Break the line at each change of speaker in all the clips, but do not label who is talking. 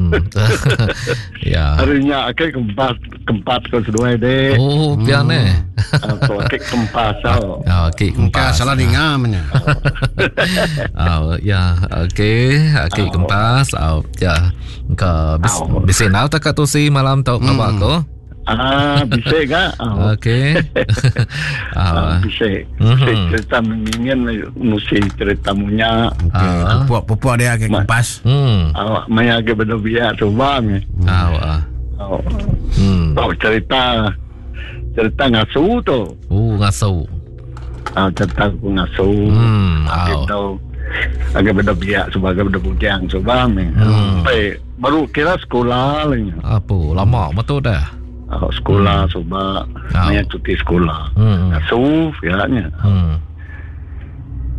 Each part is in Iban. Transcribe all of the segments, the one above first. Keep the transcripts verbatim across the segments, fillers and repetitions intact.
Hmm. Ya.
Hari nya ake kempas kempat ko seduai dek.
Oh, pian eh.
Aku ake kempas tau.
Ah, ake
Engka
kempas.
salah dinga menya.
Ah, ya, okey, ake kempas. Ah, ya. Engka bis, bisi nau tak kat tusi malam tu hmm. Aku.
Ah, bisa ga? Ah,
Okey.
ah,
Ah,
bisa.
Mhm.
Bisa cerita mengingin musi cerita munya.
Okey,
Ah.
pupuk-pupuk dia ke kempas.
hmm.
Awak maya ke benda biak cuba ni.
Ah, ah.
Oh,
Hmm.
oh, cerita cerita ngasu tu.
Oh, ngasu.
Ah, cerita aku ngasu.
Hmm,
Ah,
ah.
gitu. Agak benda biak sebagai benda bujang cuba ni.
Hmm.
Sampai baru kira sekolah lah ni.
Apa lama betul dah.
Ah, sekolah cuba
Ah.
maya cuti sekolah.
Hmm.
Ngasu kiranya.
Hmm.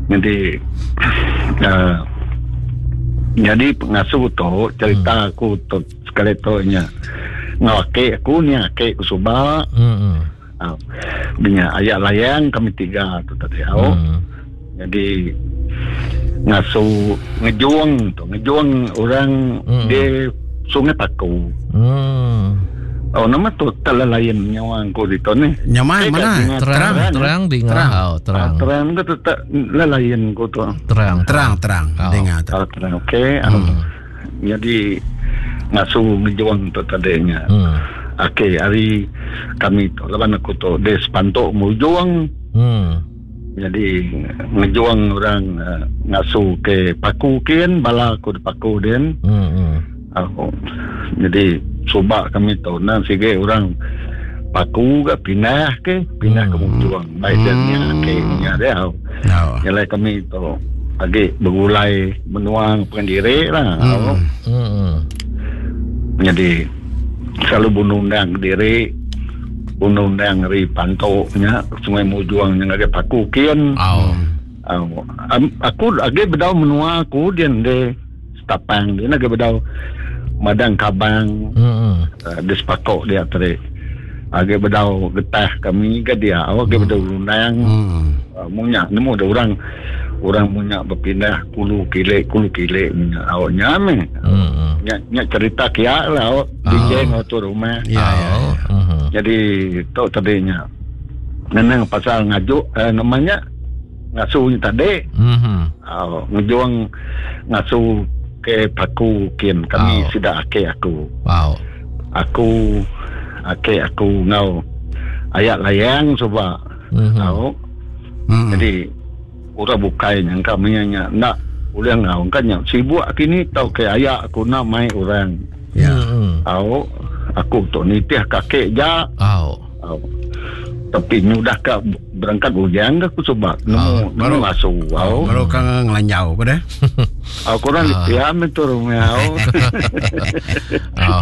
Jadi uh, jadi pengasuh tu cerita aku tu sekali tu nya. Ngake aku ni ake aku suba.
Hmm. Hmm.
Uh, punya ayat layang kami tiga tu tadi. Oh.
Hmm.
Jadi ngasuh ngejuang tu ngejuang orang
Hmm.
di Sungai Paku.
Hmm.
Oh nama tu lain nyawa aku di tu ni.
Nyamai
Eh,
mana?
kat dengar
Terang
Terang,
terang dengar.
Terang.
Oh, terang.
Ah, terang tu tetap lain aku tu.
Terang.
Terang, terang.
Oh.
Dengar tu.
Ah, terang okey.
Hmm.
Jadi ngasuh ngejuang tu tadinya.
Hmm.
Okey, hari kami tu lawan aku tu des pantok mujuang
Hmm.
jadi ngejuang orang uh, ngasuh ke Paku kin bala aku di Paku din.
Hmm. Hmm.
Aku jadi subak kami tu nan sige orang Paku ke pindah ke pindah ke Mujuang baik dan nya ke nya dia.
Oh.
Nyalai kami tu agi bergulai menuang pendiri lah.
Hmm.
Hmm. Hmm.
Jadi selalu bunundang diri bunundang ri pantoknya Sungai Mujuang yang ada Paku kian.
Oh.
Uh, aku agi bedau menua aku dia de Setapang dia agi bedau Madang Kabang
Hmm.
uh, di Sepakok dia tadi. Agi bedau getah kami ke dia awak agi bedau undang
Hmm.
uh, munyak nemu ada orang orang munyak berpindah kulu kilik kulu kilik munyak awak nyame.
Hmm.
Nyak, nyak cerita kia lah awak
Ah.
D J ngau rumah.
Ya, ya.
Oh. Hmm.
Jadi tu tadinya. Nenang pasal ngajuk eh, namanya ngasuh ni tadi
Hmm.
uh, ngejuang ngasuh ke Paku kin kami
Oh.
sudah ake aku.
Wow.
Aku ake aku ngau ayat layang coba.
Hmm.
Tahu.
Hmm.
Jadi orang bukai yang kami nya nak boleh ngau kan nya sibuk kini tau ke ayak aku nak mai orang.
Ya.
Hmm.
Tahu aku tu nitih kakek ja.
Oh.
Oh. Tapi nyudah ke berangkat bujang ke aku coba nemu
Ah,
nemu
baru-
masuk. Oh.
Baru kang ngelanjau ke deh.
Aku orang
Ah.
diam itu rumah. Oh.
Oh.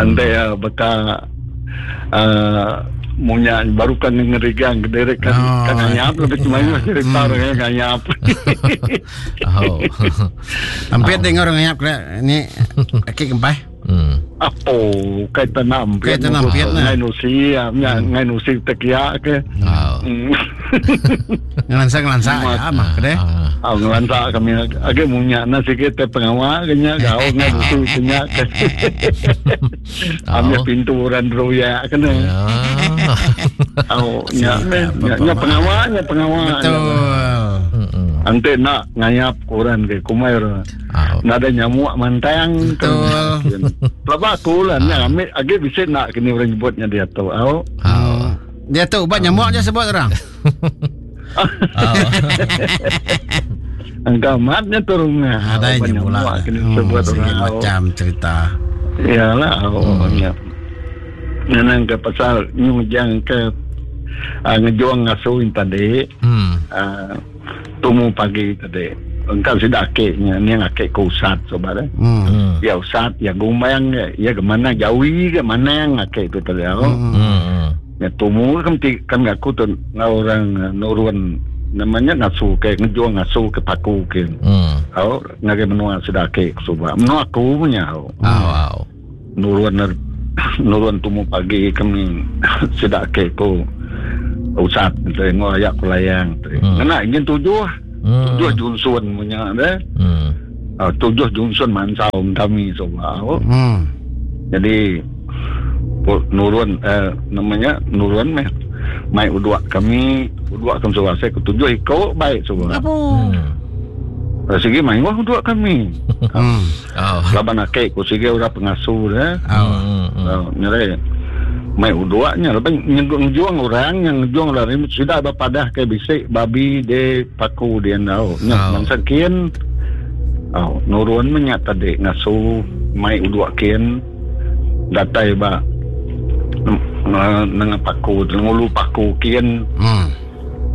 Ante ya beka uh, munya baru kan ngerigang kedere kan
Oh.
kan nganyap lebih cuma ini cerita orangnya nganyap.
Oh.
Hampir dengar orang ngayap kena ni aki kempai.
Hmm.
Apa kaitan nampit
Kaitan nampit, nah.
ngai nusi ya ngai nusi tekia ke.
Oh.
Hmm.
Ngelansa ngelansa ya mah ke deh.
Ah.
Ah, ngelantak kami age munya na sikit te pengawal kenya gau ngai nusi kenya ke. Ambil
Oh.
pintu orang roya kena.
Ya.
Oh, nya
Siap,
nya nya pengawal nya pengawal.
Betul.
Hmm.
Ante nak ngayap koran ke kumai orang.
Oh.
Nada nyamuk mantang.
Betul.
Pelaba aku lah nya ambil age bisa nak kini orang nyebutnya dia tu. Oh.
Oh.
Dia tu ubat nyamuk je sebut orang.
Oh.
Engkau matnya turunnya.
Ada
Ubat
yang
nyamuk
pula.
kini
Hmm,
sebut
segala
orang.
macam cerita.
Iyalah, oh, ya. Nenang ke pasal nyujang ke uh, ngejuang ngasuhin tadi
Hmm.
uh, tumu pagi tadi. Engkau sudah akeknya, ni yang akek ke usat sobat eh.
Hmm.
Hmm.
Ya usat, ya gumayang, ya, ya ke mana jawi ke mana yang akek itu tadi. Oh.
Hmm.
Hmm.
Ya tumu kan ti kan aku tu ngau orang eh, nurun namanya ngasu ke ngejuang ngasu ke Paku ke.
Hmm.
Oh, ngagai menua sudah akek sobat. Menua aku punya. Oh.
Oh. Oh.
Nurun nurun tumu pagi kami sudah ke ko usat tengok ayak kulayang.
Hmm.
Kena ingin tujuh
Hmm.
tujuh junsun punya deh.
Hmm.
Uh, tujuh junction mansau kami suba.
Hmm.
Jadi nurun eh, namanya nurun meh mai uduak kami uduak kami suba saya ketujuh iko baik suba.
Hmm.
Sigi mai wah uduak kami.
Hmm.
Oh.
Laban akek ku sigi ora pengasuh dah.
Oh.
Oh, nyere mai uduaknya lepas ngejuang orang yang ngejuang lari sudah berpadah ke bisik babi de paku dia tau. Nya mangsa kin. Oh, nurun menyak tadi ngasu mai uduak kin datai ba nengah paku ngulu paku kin.
Hmm.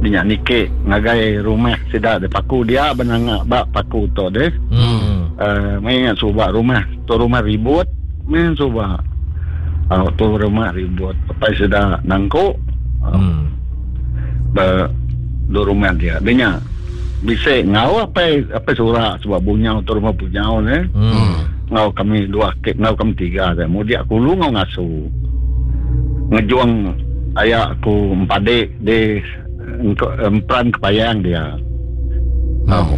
Dia nike ngagai rumah sida de paku dia benanga ba paku tu deh.
Hmm.
Uh, mai suba rumah tu rumah ribut main suba. Oh, tu rumah ribut pai sida nangko.
Hmm.
Ba do rumah dia. Dia bisa ngau apa apa surat sebab bunyau tu rumah bunyau ne.
Hmm.
Ngau kami dua ke ngau kami tiga dah. Mudia aku lu ngau ngasu. Ngejuang ayak aku empadik di emperan kepayang dia.
Oh.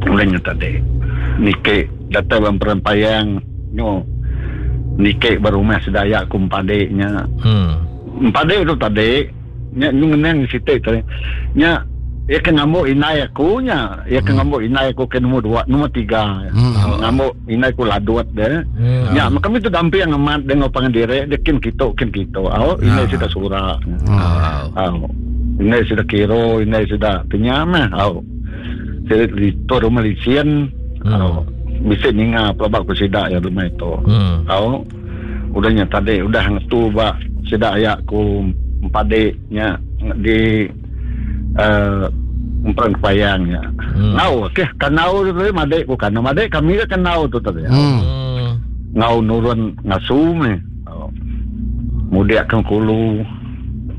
Mulanya tadi. Nike datang emperan payang nyo. Nike berumah sedayak aku empadiknya.
Hmm.
Empadik tu tadi nya ngenang sitik tadi. Nya ia ke ngamuk inai aku nya, ia ke ngamuk inai aku ke nombor dua, nombor tiga.
Hmm.
Ngamuk inai aku laduat deh.
Hmm.
Nya, kami tu dampi yang amat dengan pangan dire, dia kin kito, kin kito. Au, inai
Ah.
sudah surat.
Oh.
Au. Inai sudah kiro, inai sudah penyamah. Au. Saya di tu rumah licin.
Hmm.
Au. Bisa ninga pelabak ku sidak ya rumah itu.
Hmm.
Au. Udahnya tadi udah ngetu ba sidak ayak ku empadiknya di Uh, emperan kepayangnya.
Hmm.
Ngau, okey, kanau tu tadi madek ku kanau madek kami ke kanau tu tadi.
Hmm.
Hmm.
Ngau nurun ngasu ni. Oh. Mudik ke kulu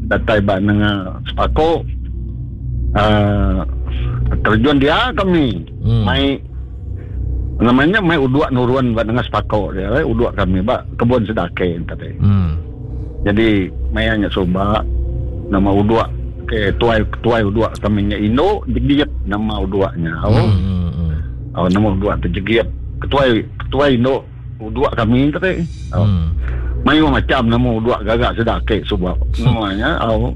datai ba nengah sepako. Uh, terjun dia kami.
Hmm.
Mai namanya mai uduak nurun ba nengah sepako dia, eh, uduak kami ba kebun sedake tadi.
Hmm.
Jadi mayanya soba nama uduak ke tuai tuai uduak kami nya Indo jegiat nama uduaknya. Oh.
Hmm.
Oh, nama uduak tu jegiat. Ketuai ketuai Indo uduak kami tadi. Oh.
Hmm.
Mayu macam nama uduak gagak sedake sebab namanya oh.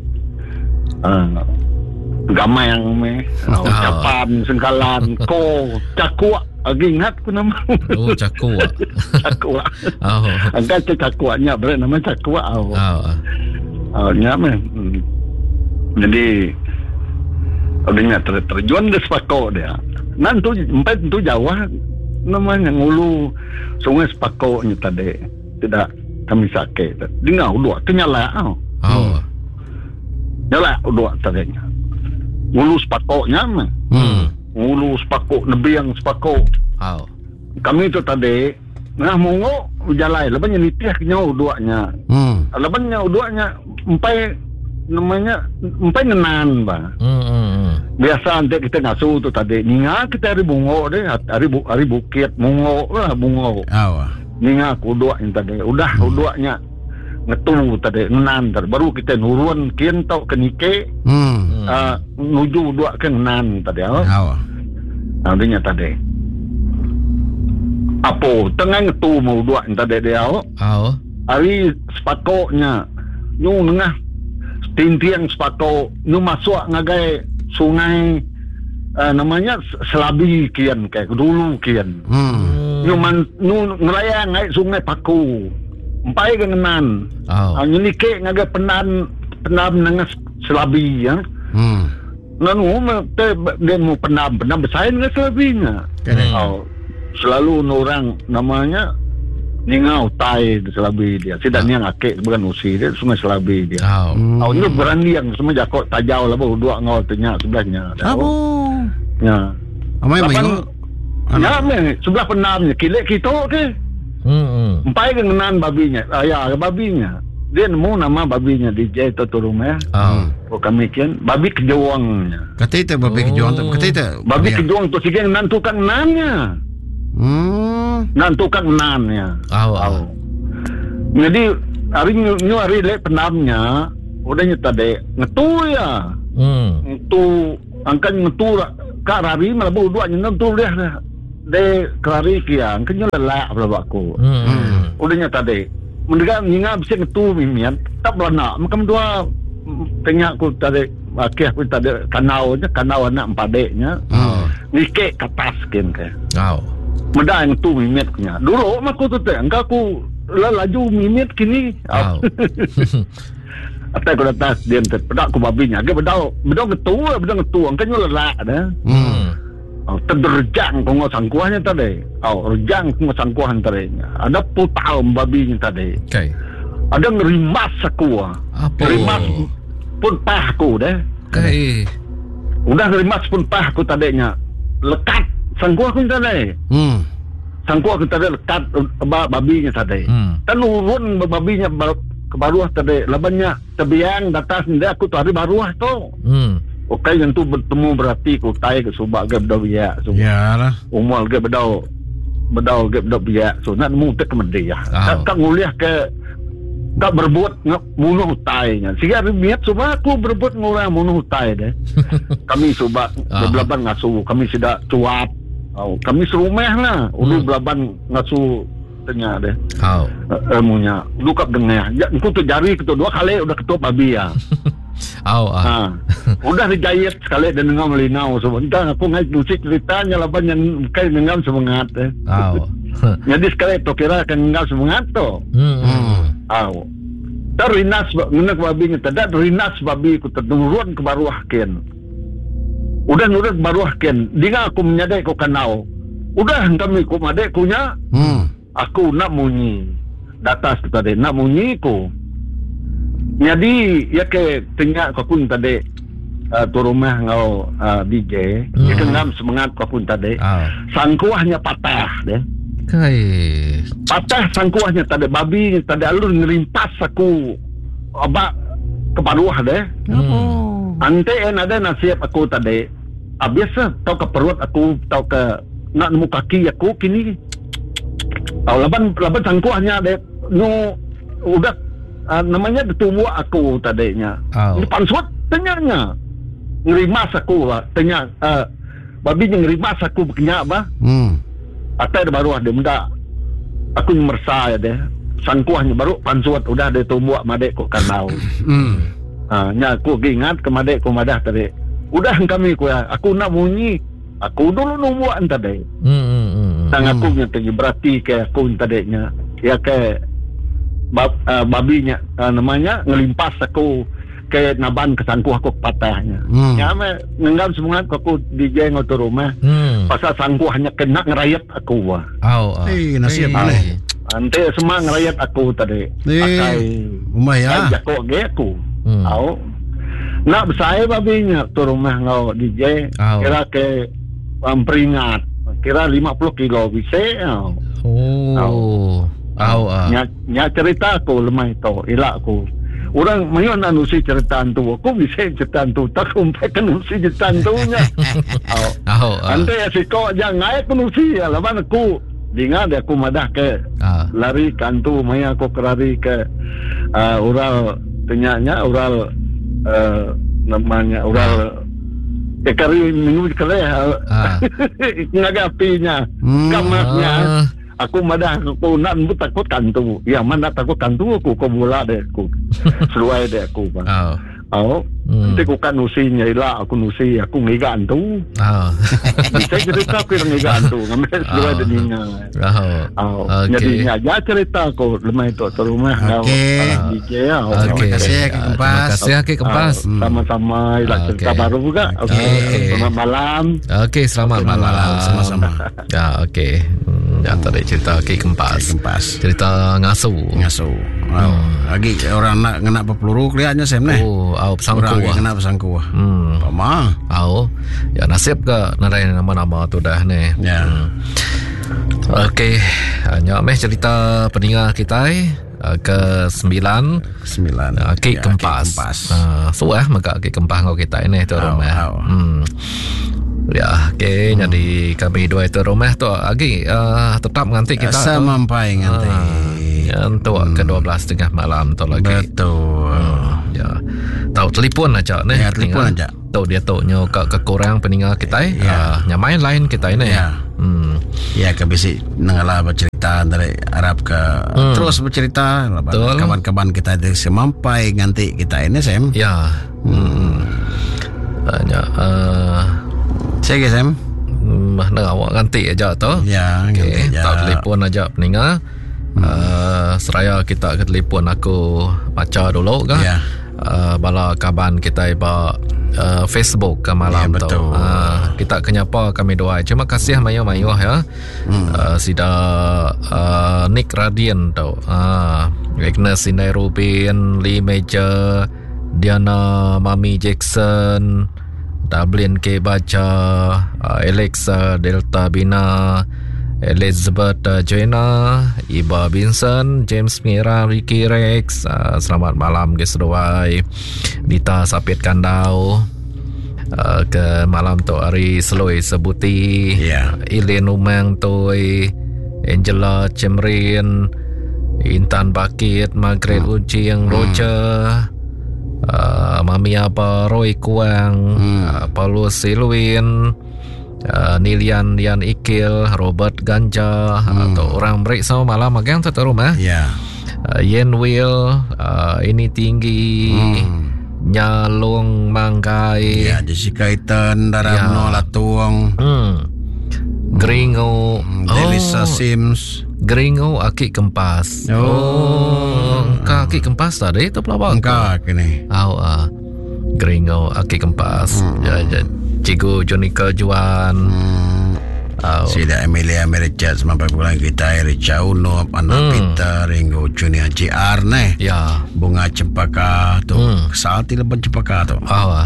Uh, gamai yang me oh,
Oh.
capan sengkalan ko cakuak lagi ingat ku nama.
Oh, cakuak.
Cakuak.
Oh.
Angkat cakuaknya berat nama cakuak. Oh.
Oh.
Oh, nya meh. Hmm. Jadi adanya ter, terjun di sepako dia. Nanti empat tu jauh namanya ngulu sungai sepako ni tadi. Tidak kami sakit. Dengar uduak kenyala. Oh.
Oh.
Nyala uduak tadi. Ngulu sepakoknya mah.
Hmm.
Ngulu sepakok nebiang sepakok.
Oh.
Kami tu tadi nah mungok jalai lepas nitih kenyo uduaknya.
Hmm.
Lepas nya uduaknya empai namanya empai ngenan ba.
Hmm. Hmm.
Biasa nanti kita ngasu tu tadi ninga kita hari bungo deh hari bu, hari bukit bungo lah bungo.
Aw.
Ninga kuduak yang tadi udah hmm. uduaknya ngetu tadi ngenan tadi baru kita nurun kin tau ke nike.
Hmm.
Uh, nuju uduak ke ngenan tadi. Oh.
Aw.
Nah, dia tadi. Apo tengah ngetu mau uduak yang tadi dia. Oh.
Oh.
Hari sepakoknya nyu nengah tintiang sepako nu masuk ngagai sungai uh, namanya Selabi kian kayak dulu kian.
Hmm.
Nu man nu ngelayang ngai sungai Paku. Empai ke ngenan.
Oh.
Uh, nyenike ngagai penan penam nengah Selabi ya.
Hmm.
Nanu te dia mau penam penam besar dengan Selabinya.
Correct.
Oh, selalu orang namanya ninga utai di Selabi dia. Tidak niang akek bukan usi dia sungai Selabi dia.
Oh.
Hmm.
Oh, ini berani yang semua jakok tajau lah baru dua ngau tanya sebelahnya.
Abu.
Ya.
Amai
Lapan,
mayu.
ya, me, sebelah penamnya kilek kita ke.
Hmm.
Empai ke ngenan babinya. Ah, ya, babinya. Dia nemu nama babinya D J tu tu rumah.
Oh.
Oh, kami kian babi kejuangnya.
Kata itu babi kejuang tu. Kata itu.
Babi kejuang tu sikit ngenan tukang ngenannya.
Hmm.
Nan tukang ngenannya.
Oh.
Oh. Jadi hari nyu hari lek penamnya udahnya tadi ngetu ya.
Hmm.
Ngetu angkan ngetu kak rari malah baru dua nyentuh tu dia de kelari kia kena lelak pelaba aku.
Hmm.
Udahnya tadi mendengar ninga bisa ngetu mimian tak beranak macam dua tengah aku tadi akih aku tadi kanau nya kanau anak empadeknya.
Oh.
Nikek ke atas kin ke.
Oh.
Meda yang tu mimit nya. Dulu mah aku tu teh engkau aku laju mimit kini.
Oh.
Atai aku datang dia pedak aku babinya. Agak bedau bedau ngetu bedau ngetu engkau nyu lelak dah.
Hmm.
Oh, terderjang kau sangkuahnya tadi. Oh, rejang kau sangkuah tadi. Ada putal babinya tadi.
Okey.
Ada ngerimas aku.
Apa?
Ngerimas pun pah aku deh.
Okey.
Udah ngerimas pun pah aku tadinya. Lekat sangkuah aku tadi.
Hmm.
Sangkuah aku tadi lekat babinya tadi.
Hmm.
Tenurun babinya ke baruah tadi. Labannya terbiang datang sendiri aku tu hari baruah tu.
Hmm.
Okey yang tu bertemu berarti ku tai ke subak ke bedau biak so.
Yalah.
Umur ke bedau bedau ke bedau biak so nak nemu tek kemedi ya.
Oh.
Tak tak nguliah ke tak berbuat bunuh utainya. Siga niat subak aku berbuat ngurang bunuh utai deh. Kami subak
oh.
Belaban ngasu, kami sudah cuap. Oh, kami serumah lah. Ulu
hmm.
belaban ngasu tanya deh.
Oh.
Ilmunya. Lu kap dengar. Ya, aku tu jari ketua dua kali udah ketua babi ya.
Oh, ah.
Ha. Udah dijahit sekali dan ngam linau sebentar aku ngai musik ceritanya laban yang kai ngam semangat eh.
Oh.
Jadi sekali tu kira kan ngam semangat tu.
Hmm.
Oh. Terinas ngena babi nya tidak terinas babi ku terturun ke baruah ken. Udah nurut baruah ken. Dinga aku menyadai ku kanau. Udah kami ku madek kunya.
Hmm.
Aku nak munyi. Datas tu tadi nak munyi ku. Jadi ya ke tengah aku pun tadi uh, tu rumah ngau uh, D J
hmm.
ya ke ngam semangat aku pun tadi
oh.
Sangkuahnya patah deh.
Kai
patah sangkuahnya tadi babi tadi alur ngerimpas aku abak ke baruah deh.
Hmm.
Ante en ada nasib aku tadi habis tau ke perut aku tau ke nak nemu kaki aku kini. Tau laban laban sangkuahnya deh nu udah Uh, namanya bertumbuh aku tadinya.
Oh.
Ini pansut tanyanya. Ngerimas aku bah. Tanya uh, babi yang ngerimas aku berkenyak bah.
Hmm.
Atai baru ada benda. Aku mersa ya deh. Sangkuahnya baru pansut udah dia tumbuh madek kok kanau.
Hmm.
Ha, nya aku ingat ke madek ku madah tadi. Udah kami ku ya, aku nak bunyi. Aku dulu numbuhan tadi.
Hmm hmm hmm.
Tang aku nya tadi berarti ke aku tadinya. Ya ke Bab, uh, babinya uh, namanya ngelimpas aku ke naban ke sangkuh aku patahnya.
Hmm.
Ya me ngenggam semangat aku D J ngotor rumah.
Hmm.
Pasal sangkuhnya kena ngerayat aku wah.
Oh, oh.
Eh nasib boleh.
Ante semua ngerayat aku tadi.
Eh,
Pakai
umai ya.
Jakok ge aku.
Hmm.
Au. Nak besai babinya tu rumah ngau D J
oh.
Kira ke um, peringat kira lima puluh kilo bisa.
Oh. Oh. Oh, ah.
Nya, nya cerita aku lemah itu, ilak aku. Orang mayu nak nusi cerita tu, aku bisa cerita tu, tak kumpai kan nusi cerita tu nya. Oh.
Oh, ah.
Ante siko jangan ngai aku nusi ya, laban aku dengar dia aku madah ke
ah.
Lari kantu maya aku kerari ke uh, ural tenyanya ural uh, namanya ural ah. Kari minggu kali
ah.
Ngaga apinya,
hmm.
kamarnya.
Ah.
Aku madah aku nak takut kantu. Ya mana takut kantu aku kau bola deh aku. Seluai deh aku bang.
Oh.
Oh.
Hmm.
Nanti aku kan nusinya lah aku nusi aku ngiga antu.
Oh.
Bisa cerita aku ngiga antu. Ngambil seluai deh ninga.
Oh.
Oh.
Okay.
Jadi aja cerita aku lemah itu terumah.
Okey.
Okey.
Terima
kasih Aki Kempas.
Terima kasih Aki Kempas.
Sama-sama lah cerita
okay.
baru juga. Okey.
Okay.
Selamat malam.
Okey, selamat malam.
malam. Sama-sama.
Ya, okey. Ya, tadi cerita Aki Kempas.
Kempas.
Cerita ngasu.
Ngasu. Wow. Hmm. Lagi orang nak kena peluru kelihatannya Sam nih.
Oh, au pesangku.
Orang kena pesangku.
Hmm.
Pama.
Au. Ya nasib ke narai nama-nama tu dah ni.
Ya.
Hmm. Okey, nyak meh cerita peninga kita ke sembilan
sembilan
Aki
ya,
Kempas.
Kempas.
Uh, suah mega Aki Kempas ngau kita ini tu rumah. Hmm. Ya, okey, hmm. Jadi kami dua itu rumah tu lagi uh, tetap nganti kita
sampai nganti.
Uh, ya, untuk hmm. ke dua belas tiga puluh malam tu lagi.
Betul.
Hmm, ya. Tahu telefon aja ni.
Ya, telefon aja.
Tu dia tu nyo ke kekurang peninga kita.
Ya.
Uh, nyamai lain kita ini.
Ya.
Hmm.
Ya ke bisi nengala bercerita dari Arab ke hmm. terus bercerita kawan-kawan kita di semampai nganti kita ini Sam.
Ya. Hmm. Banyak uh,
saya ke Sam.
Hmm, nak awak nganti aja tu.
Ya,
okey, tak telefon aja peninga. Hmm. Uh, seraya kita ke telefon aku baca dulu kan.
Ya.
Uh, bala kaban kita ba uh, Facebook ke malam
ya,
tu. Uh, kita kenyapa kami doa. Terima kasih mayu-mayu ya.
Hmm.
Uh, sida uh, Nick Radian tu. Uh, Agnes Indai Rubin, Lee Major, Diana Mami Jackson, Dublin K Baca, uh, Alexa Delta Bina, Elizabeth uh, Joanna, Iba Vincent, James Mira, Ricky Rex. Uh, selamat malam ke seduai. Dita Sapit Kandau. Uh, ke malam tu hari Seloi Sebuti.
Yeah.
Ilin Umang Toi, Angela Cemrin, Intan Bakit, Margaret
hmm.
Ucing, Roger, hmm. uh, Mami Aba, Roy Kuang,
hmm.
uh, Paulus Silwin, Uh, Nilian Lian Ikil, Robert Ganja,
hmm.
atau orang break sama malam agang tu rumah.
Ya.
Yeah. Uh, Yen Will, uh, ini tinggi,
hmm.
Nyalung Manggai.
Ya, yeah, Jessica Itan, Daramno
yeah.
Latuang.
Hmm. Gringo,
hmm. Delisa oh. Sims.
Gringo Aki Kempas.
Oh,
oh ka Aki Kempas tadi itu pelawak.
Engkau kini.
Oh, uh, Gringo Aki Kempas.
Hmm.
Ya, ya. Cikgu Jonica Juan.
Hmm.
Oh.
Sida Emilia Richard sampai bulan kita Richa Unup, Anak
Hmm.
Peter, Ringo Junior J R neh.
Ya.
Bunga Cempaka tu.
Hmm.
Salti leban Cempaka tu.
Oh.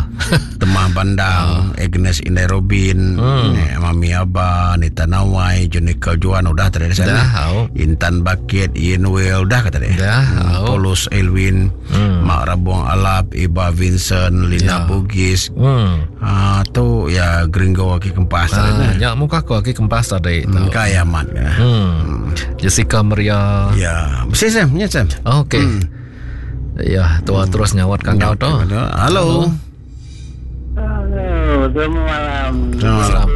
Temah Bandang,
Oh.
Agnes Indai Robin,
Hmm.
eh, Mami Aba, Nita Nawai, Jonica Juan udah tadi di sana.
Dah, oh.
Intan Bakit, Ian Will udah kata dia.
Dah,
Hmm.
oh.
Paulus Elwin,
Hmm.
Mak Rabuang Alap, Iba Vincent, Lina
Ya.
Bugis.
Hmm.
Ah tu ya Gringo Aki Kempas tadi.
Ah,
nah.
nyak muka aku Aki Kempas tadi.
Hmm,
tu.
kaya amat ya.
Hmm. Jessica Maria.
Ya, mesti Sam, ya Sam.
Okey.
Hmm.
Ya, tua terus nyawat kandau tu.
Halo.
Halo, selamat malam.
Selamat
malam.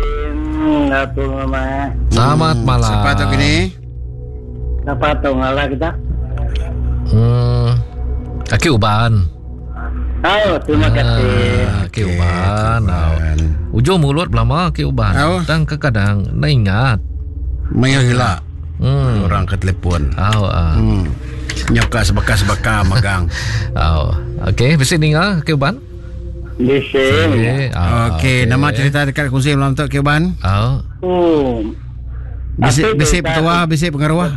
Selamat malam.
Selamat malam.
Siapa tu kini?
Siapa tu ngalah kita?
Hmm. Aki Uban.
Oh, terima kasih.
Ah, Aki Uban. Oh. Ujung mulut belama Aki Uban.
Oh.
Tang kekadang nak ingat.
Mayo gila.
Hmm.
Orang ke telefon.
Oh, ah.
Hmm. Nyoka sebaka-sebaka magang.
Oh. Okey, bisi ninga Aki Uban.
Di sini.
Okey. Ah,
Okey, nama cerita dekat kongsi malam tu Ki Uban.
Oh.
Oh.
Bisi
Aku
bisi
cerita-
petua, bisi pengaruh.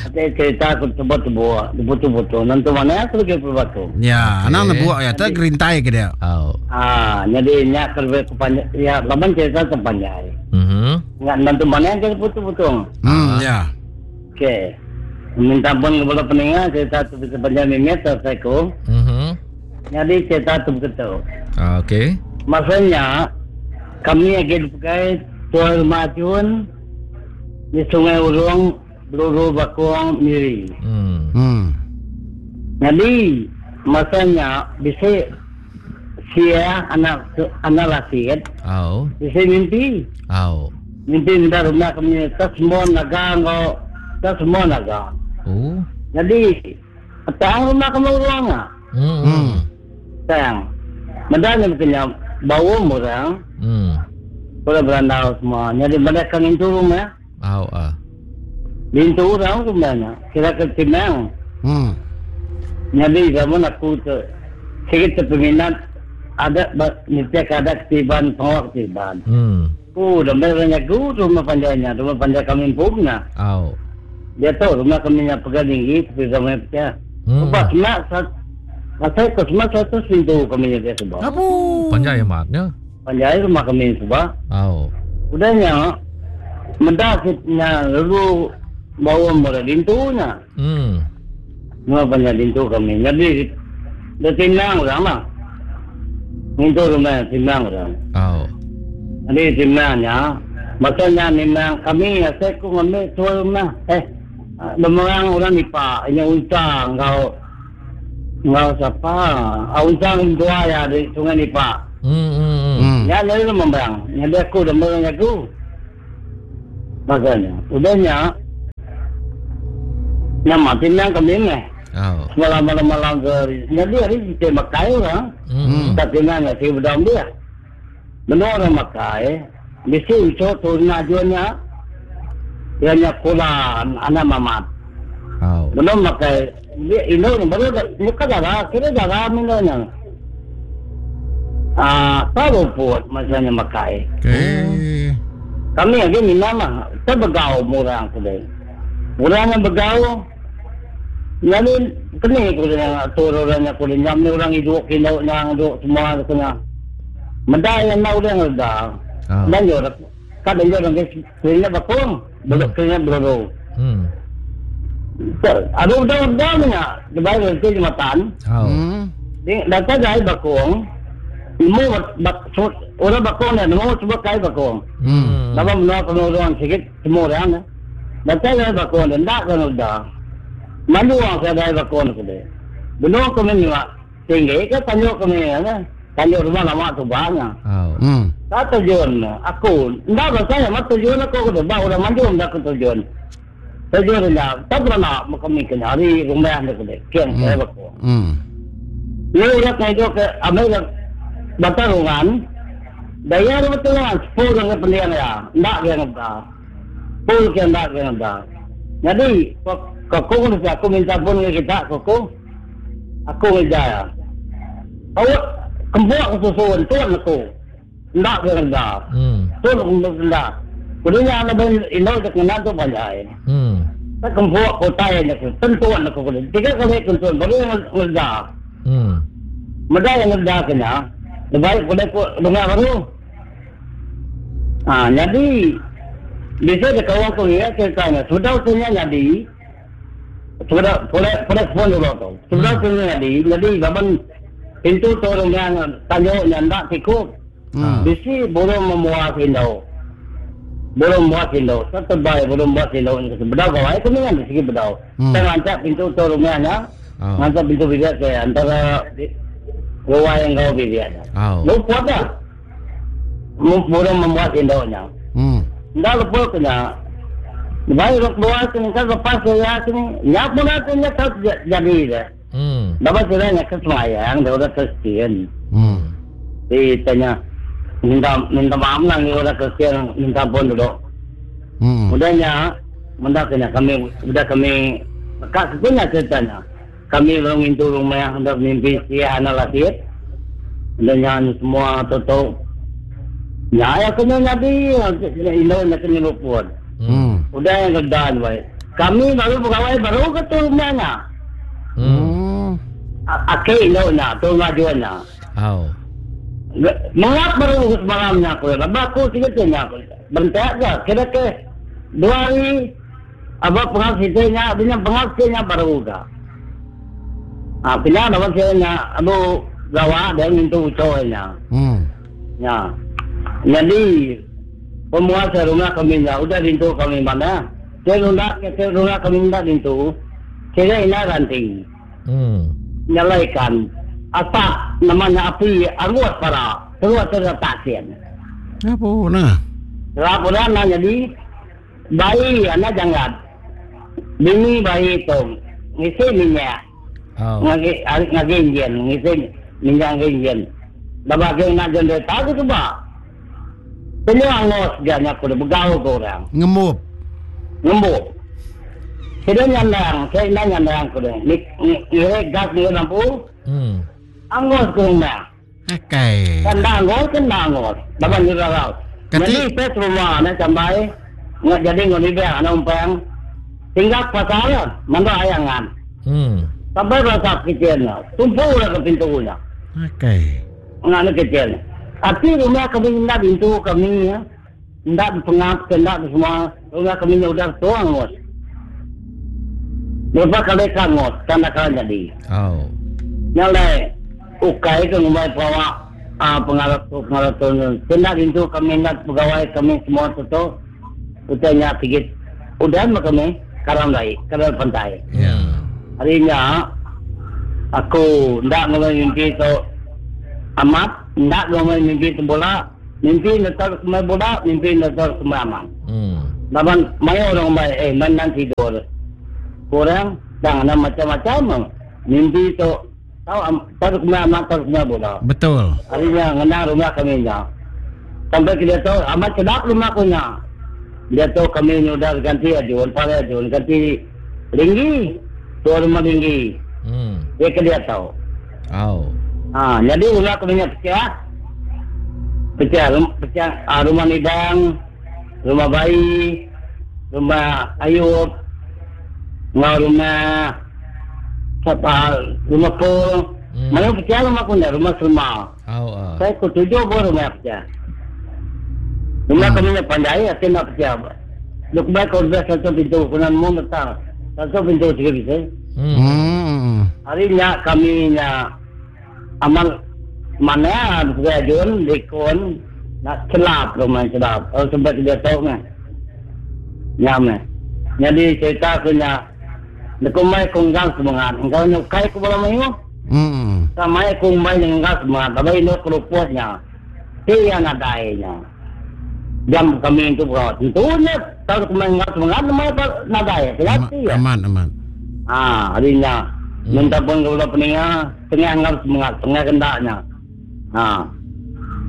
Aku cerita aku tebut-tebut, tebut-tebut. Nanti mana aku lagi berbatu.
Ya,
Okey.
anak nebuak ya, tak gerintai ke dia.
Oh.
Ah, jadi nyak kerja kepanjang, ya, laman cerita terpanjang.
Mhm.
Nggak nanti mana yang kerja betul-betul.
Hmm, ya.
Okey. Minta pun kepada pendengar cerita tu bisa panjang mimit selesai ku.
Mhm.
Jadi cerita tu begitu.
Ah, okey.
Maksudnya kami lagi pakai tuan rumah Jun di Sungai Urung, Bluru Bakuang, Miri.
Hmm.
Hmm.
Jadi masanya bisa sia anak anak laki kan
Oh.
bisa mimpi
Oh.
mimpi minta rumah kami tak semua naga ngau tak semua naga.
Oh.
Jadi petang rumah kami urang ah
Hmm. Hmm.
sayang. Mendan yang kena bau orang
Hmm.
boleh berandau semua. Jadi mereka itu rumah
Oh, ah.
Bintu orang rumahnya kira ke Timang.
Hmm.
Jadi zaman aku tu sikit peminat ada mesti ada ketiban pengawak ketiban.
Hmm.
Oh, dah mereka aku rumah panjangnya, rumah panjang kami punya.
Oh.
Dia tahu rumah kami yang pegang tinggi, tapi rumah pecah.
Hmm.
Sebab semak sat, masa ke semak satu pintu kami dia sebab.
Abu.
Panjang amatnya.
Panjang rumah kami sebab.
Oh.
Udahnya, mendak kita lalu bawa mula dintunya.
Hmm.
Rumah panjang dintu kami. Jadi dia tinang orang lah. Dintu rumah tinang orang.
Oh.
Jadi tinangnya, maksudnya memang kami saya ku ngambil tua rumah. Eh, orang orang nipa, ini untang kau kau siapa? Ah, untang tua ya di Sungai Nipa.
Hmm. Hmm.
Hmm.
Ya, lalu memberang. Jadi aku dah merang aku.
Makanya, udahnya nama tinang kami ni.
Oh.
Semalam malam malam ke jadi hari kita makai orang.
Hmm.
Tak tinang si bedam dia. Menua orang makai, mesti ucap turun ajuannya. Dia nya kula anak mamat.
Oh.
Belum makai dia ino baru muka darah, kira darah minanya. Ah, tahu pun masanya makai.
Okey.
Kami lagi minum lah. Kita begau murang tu deh. Murang yang begau. Lalu kena aku dengan atur orangnya aku dengan ni orang hidup kena yang hidup semua kena. Menda yang mau dia ngerda.
Ah.
Dan yo kadang yo orang kena bakung, belok kena beroro.
Hmm.
Ada udah udah ni nak, lepas itu jembatan.
Oh.
Hmm.
Dia datang dari bakung. Nemu bak, orang bakung ni, nemu cuba kai bakung.
Hmm.
Lama menua kena orang sikit, semua orang ni. Datang dari bakung ni, tak kena dah. Malu orang saya dari bakung ni dia. Benua kami ni mak, tinggi ke tanya kami ni, kan? Tanya rumah lama tu banyak.
Oh.
Hmm.
Tak tujuan aku, ndak rasanya mak tujuan aku ke bah orang maju ndak ke tujuan. Tujuan ndak, tak pernah nak kami kena hari rumah ni ke kian saya bakung.
Hmm.
Ni orang kaya ke Amerika Batarungan, daya rumah tulungan, sepuluh orang pendiam ya, ndak dia ndak. Sepuluh ke ndak dia ndak. Jadi, koko ni aku minta pun ke kita, koko, aku kerja ya. Awak kembuak kesusuan tuan aku, ndak dia ndak.
Hmm.
Tuan aku ndak. Kudunya ana ben ino de kenal tu banyak.
Hmm.
Tak kembuak kota yang aku, tentuan aku kudu. Tiga kali tentuan baru yang ngerda.
Hmm.
Meda yang ngerda kena. Lebih kuda ku dengar baru. Ah, jadi bisa de kawan ku ya ceritanya. Sudah punya jadi. Sudah boleh boleh phone dulu tu. Sudah punya jadi, jadi baban pintu torong yang tanya yang tak cukup.
Hmm.
Bisi belum memuas indo. Belum muat indo. Tetap baik belum muat indo. Bedau kawai tu dengan segi bedau.
Hmm.
Saya ngancak pintu torong nya.
Oh.
Ngancak pintu bilik saya antara ruang yang kau bilik.
Oh.
Lupa dah. Belum memuat indonya.
Hmm.
Dah lupa kena. Baik rok dua kena kan lepas saya kena. Nyak pun kena tak jadi dah.
Hmm.
Dapat saya nak kesemayang, dia orang Kristian.
Hmm.
Dia tanya minta minta maaf lah ni orang Kristian minta pun dulu.
Hmm.
Udahnya, benda kena kami, udah kami, kak punya ceritanya. Kami orang itu rumah yang hendak mimpi si anak laki. Udahnya semua tutup. Ya, ya kena jadi, ino nak kena luput.
Hmm.
Udah yang kedan baik. Kami baru pegawai baru ke tu rumahnya.
Hmm.
Akhir ino nak tu ngajuannya.
Oh.
Mengap baru semalamnya aku. Lepas aku tiga tanya aku. Bentar ke? Kira ke dua hari abang pengasihnya, punya pengasihnya baru ke. Ah, punya nama saya abu gawa dan itu ucohnya.
Hmm.
Ya. Jadi pemuasa rumah kami nya, udah pintu kami mana? Saya rumah, saya rumah kami ndak pintu. Saya ina ranting.
Hmm.
Nyalaikan. Apa namanya api angus para terus terus pasien.
Apa nah?
Laporan nah jadi bayi anak jangan. Bini bayi itu ngisi minyak.
Oh.
Ngagi ngagi injen ngisi minyak injen. Babak yang nak jende tahu tu ba. Semua angus dia aku dah begau ke orang.
Ngemuk.
Ngemuk. Saya nyandang, saya nak nyandang aku dah. Ni ni gas ni lampu.
Hmm.
Angus ke rumah.
Okey.
Kena angus, kena angus. Bapak ni dah. Jadi pet rumah nak sampai nggak jadi ngoni be anak umpang. Tinggal pasal mana ayangan.
Hmm.
Sampai rasa kecilnya, tumpu lah ke pintunya.
Okey.
Nggak ada kecil. Tapi rumah kami ndak pintu kami ya. Ndak pengap, ndak semua. Rumah kami ni udah tua angus. Berapa kali kangus, tanda kali jadi.
Oh.
Nyalai ukai ke rumah bawa ah pengarah pengarah tu. Tindak pintu kami nak pegawai kami semua tu. Utanya sikit. Udah mah kami karam lai, karam pantai.
Ya.
Harinya aku ndak ngomong mimpi tu amat, ndak ngomong mimpi tu bola, mimpi letak semua bola, mimpi letak semua amat.
Hmm.
Laban mayo orang mai eh main tidur. Kurang jangan macam-macam. Mimpi tu tahu tahu kena amat tahu kena bola.
Betul.
Harinya ngena rumah kami nya. Sampai kita tahu amat sedap rumah punya. Dia tahu kami ni udah ganti aja, pare aja, ganti linggi, dua rumah linggi.
Hmm.
Dia ke dia tahu.
Oh.
Ah, jadi rumah kami nya pecah. Pecah, pecah ah, rumah Nidang, rumah bayi, rumah Ayub, ngau rumah siapa, rumah Pul.
Hmm.
Mana pecah rumah punya, rumah Selma.
Oh, uh.
Saya ku tujuh pun rumah pecah. Rumah
Hmm.
kami nya pandai, aku nak pecah. Luk baik kau dah satu pintu, kunan mu datang. Satu pintu tiga bisa.
Hmm.
Hmm.
Harinya kami nya amal mana ada likon nak celap rumah celap. Oh sebab tidak tahu mah. Nyame. Jadi cerita aku nya lekumai konggang semangat. Engkau nyukai ku bola mayu.
Hmm.
Sama kumai dengan semangat. Tapi ini keruputnya. Dia nadainya. Jam kami itu berapa? Tentunya kalau kumai nggak semangat, namanya nadai. Kelihatan ya.
Aman, aman.
Ah, harinya.
Hmm.
Minta pun kalau peninga, tengah nggak semangat, tengah kendaknya. Ah.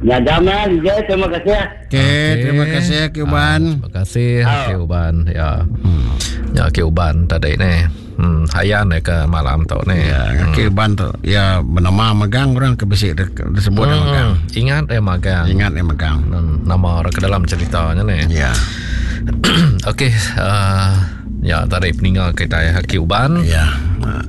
Ya, jamnya, ya, terima kasih.
Okey,
Okey.
terima kasih Ki Uban.
Ah, terima kasih
Ah.
Ki Uban. Ya. Hmm. Ya Ki Uban tadi ni. Hmm, hayan ke malam tu ni.
Ya, hmm. Ki Uban tu ya bernama magang orang ke besi disebut hmm. magang.
Ingat eh magang.
Ingat eh magang.
Hmm, nama orang ke dalam ceritanya ni.
Ya.
Okey, uh, ya tadi peninggal kita ya Ki Uban.
Ya.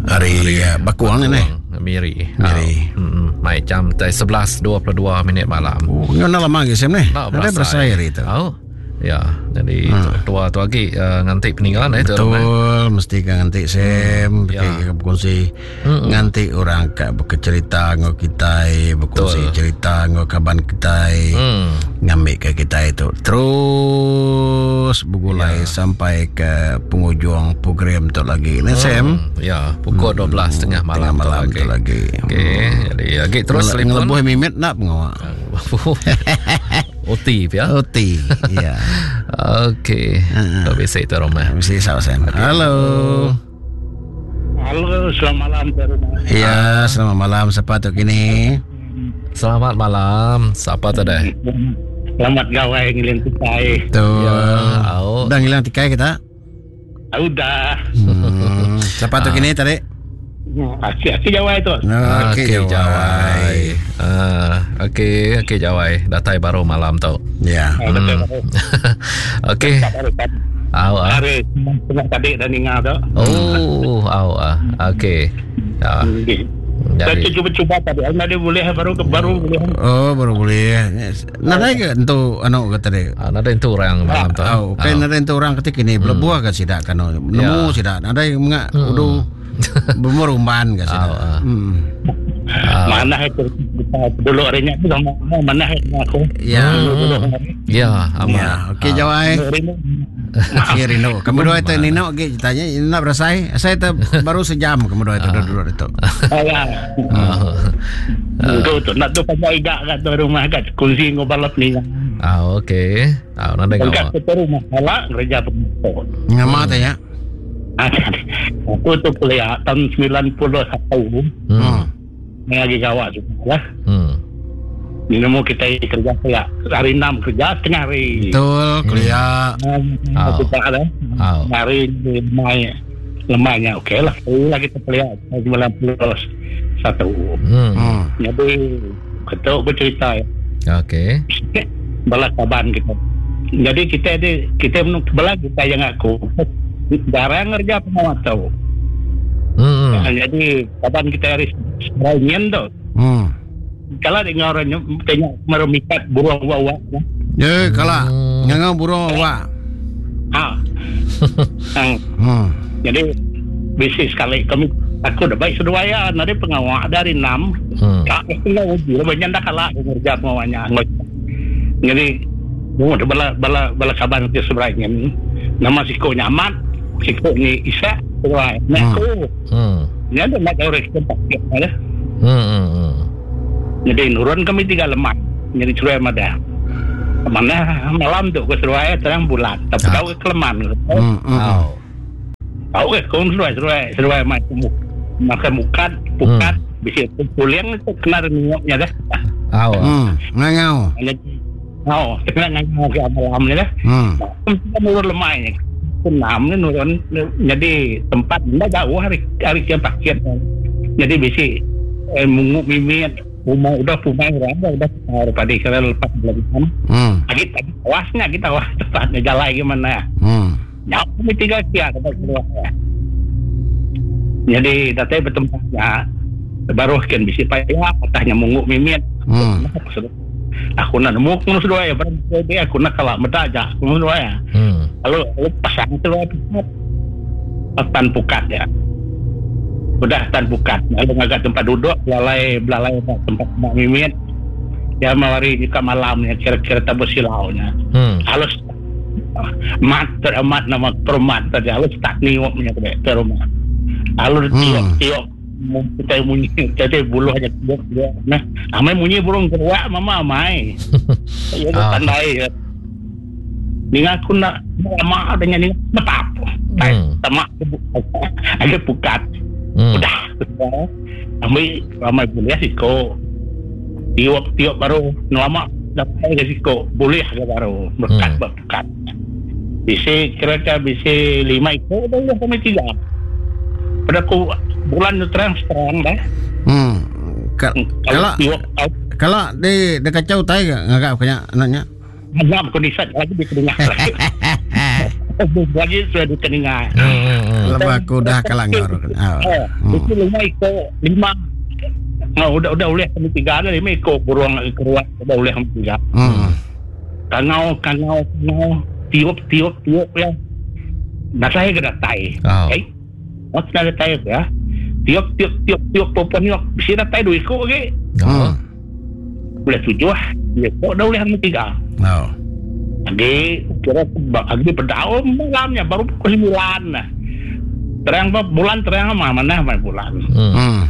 Hari ya, Bakuang ni.
Miri.
Miri.
Ah, hmm, mai jam sebelas dua puluh dua minit malam.
Oh, ngena lama lagi sem ni.
Tak
Ada berasai hari itu.
Oh. Ya, jadi
hmm.
tua tu lagi uh, ngantik peninggalan eh tu.
Betul, mesti kan ngantik sem,
Ya.
hmm. berkongsi
Mm-mm.
ngantik orang kat bercerita ngau kita, berkongsi
Betul.
cerita ngau kaban kita.
Hmm.
Ngambil ke kita itu terus bergulai
Ya.
sampai ke penghujung program tu lagi. Ni sem.
Hmm. Ya, pukul dua belas tiga puluh malam,
Tengah malam
tu
tu lagi.
Okey, jadi lagi terus
Ngele-
telefon.
Ngelebuh mimit nak pengawak.
O T ya.
O T. Ya.
Okey. Tak bisa itu rumah.
Mesti saw Sam. Halo.
Halo, selamat malam dari rumah.
Ya, selamat malam. Siapa tu kini?
Selamat malam. Siapa tu dah?
Selamat gawai ngiling tikai.
Tu.
Ya, au.
Udah ngilang tikai kita?
Ah, Udah.
Hmm. Siapa tu kini tadi?
Asyik, asyik jawai tu.
Okey,
Okey, Jawai. Ah, okey, okey Jawai. Datai baru malam tu.
Ya.
Ah, betul.
Okey. Au ah.
Hari tengah tadi dah ninga tu.
Oh, au ah. Okey. Ya.
Okey. Saya
Jadi
cuba-cuba tadi. Ada boleh baru ke baru boleh.
Oh, baru boleh. Nadai ke entu anu ke tadi?
ah, nada itu orang malam tu.
Oh, okey nadai entu orang ketika ini belebuah ke sidak kan. Nemu
Ya.
sidak. Nadai mengak udu bermerumban ke sidak.
Ah, ah.
Hmm.
Mana itu dulu harinya tu sama mana aku.
Ya.
Dulu hari.
Ya, aman.
Ya, okey Jawai.
Hari ni.
Okey Rino. Kamu dua itu Nino okey ceritanya nak berasai. Saya tu baru sejam kamu dua itu duduk itu.
Ah, ya.
Ah.
Tu tu nak tu pasal igak kat tu rumah kat kunci ngobalap ni.
Ah, okey. Ah, nada
Kat
ngawak.
tu rumah salah kerja pemotong.
Ngama tanya.
Aku tu kuliah tahun sembilan puluh satu.
Hmm.
Ni lagi gawat juga lah.
Hmm.
Ni nemu kita kerja saya hari enam kerja setengah hari.
Betul, kuliah.
Ah,
Oh.
kita ada.
Oh.
Hari lemah lemahnya okey lah. Sekali lagi kita kuliah tahun sembilan puluh satu.
Hmm.
Hmm.
Jadi ketuk bercerita ya.
Okey.
Balas kaban kita. Jadi kita ada kita belah kita yang aku jarang kerja pengawat tau.
Hmm.
Hmm. Jadi kapan kita hari Senin tu.
Hmm.
Kalau dengar orang tengok merumikat burung wak-wak.
Ya, kalau
Hmm.
ngangau burung awak.
Ha. ha.
Hmm.
Jadi bising sekali kami aku dah baik seduai ya nari pengawak dari enam
Hmm.
kak setengah uji banyak dah kalah kerja pengawaknya. Jadi oh, bala bala bala kaban ke seberangnya ni. Nama siko nyamat, siko ni Isa, seduai. Nak
Hmm.
aku
Hmm.
ni ada nak orang kita tak ada.
Hmm. Hmm.
Jadi nurun kami tiga lemak. Jadi cerai madah. Mana malam tu ke seruai terang bulan. Tapi tahu ke keleman.
Hmm.
Oh.
Tahu ke kau seruai seruai seruai mai makan mukat pukat bisa pulang tu kena nengoknya dah.
Oh.
Hmm. Ngangau.
Oh, kena ngangau ke malam ni dah.
Hmm.
Nurun lemai ni. Enam ni nurun jadi tempat dah jauh hari hari ke paket. Jadi bisi eh, munguk mimit rumah udah rumah orang dah udah daripada kira lepas bulan.
Hmm.
Lagi tadi awasnya kita awas tempatnya jalan gimana.
Hmm.
Ya, kami tinggal kia tempat keluar. Jadi datang bertempatnya baru kan bisi payah patahnya munguk mimit.
Hmm.
Aku nak nemu aku sudah ya berarti aku nak kalah meda aja aku sudah ya.
Hmm.
Lalu lalu pasang tu tan pukat ya. Udah tan pukat. Lalu ngagak tempat duduk belalai belalai tempat mak mimit. Ya mawari juga malamnya kira-kira tabu silaunya.
Hmm.
Halus mat teramat nama permat tadi halus tak niupnya ke rumah. Halus tiup tiup kita bunyi jadi buluh aja tiup dia. Nah, amai bunyi burung keruak mama amai. Ya tandai. Ya. Ninga aku nak lama adanya ni betap.
Hmm.
Tamak ada pukat.
Hmm.
Udah. Amai ramai boleh siko. Tiup-tiup baru lama dapat ke siko boleh ke baru berkat
Hmm.
berkat. Bisa kira-kira bisa lima ekor dah sampai tiga. Pada aku bulan tu terang terang dah.
Hmm. Ka-
Kalau
Kalau
tiup
kalau di di kacau tai ngagak kanya anaknya.
Ngam kondisi lagi di kedengar lagi. Lagi sudah di kedengar.
Hmm. Hmm. hmm.
Lepas aku dah kalah ngor. Ah.
Eh, itu lima ekor lima. Nah, udah udah boleh kami tiga ada lima ekor burung keruak udah boleh kami tiga.
Hmm.
Kangau kangau kangau tiup tiup tiup ya. Nah saya kena tai.
Oh.
Eh, oh kena tai ya. Tiup tiup tiup tiup popon tiup. Bisa dah tai dua ekor ke?
Oh.
Hmm.
Boleh tujuh lah. Dua ekor dah boleh kami tiga.
Oh.
Lagi kira lagi berdaun malamnya baru pukul sembilan lah. Terang apa bulan terang apa mana mana bulan.
Hmm.
Hmm.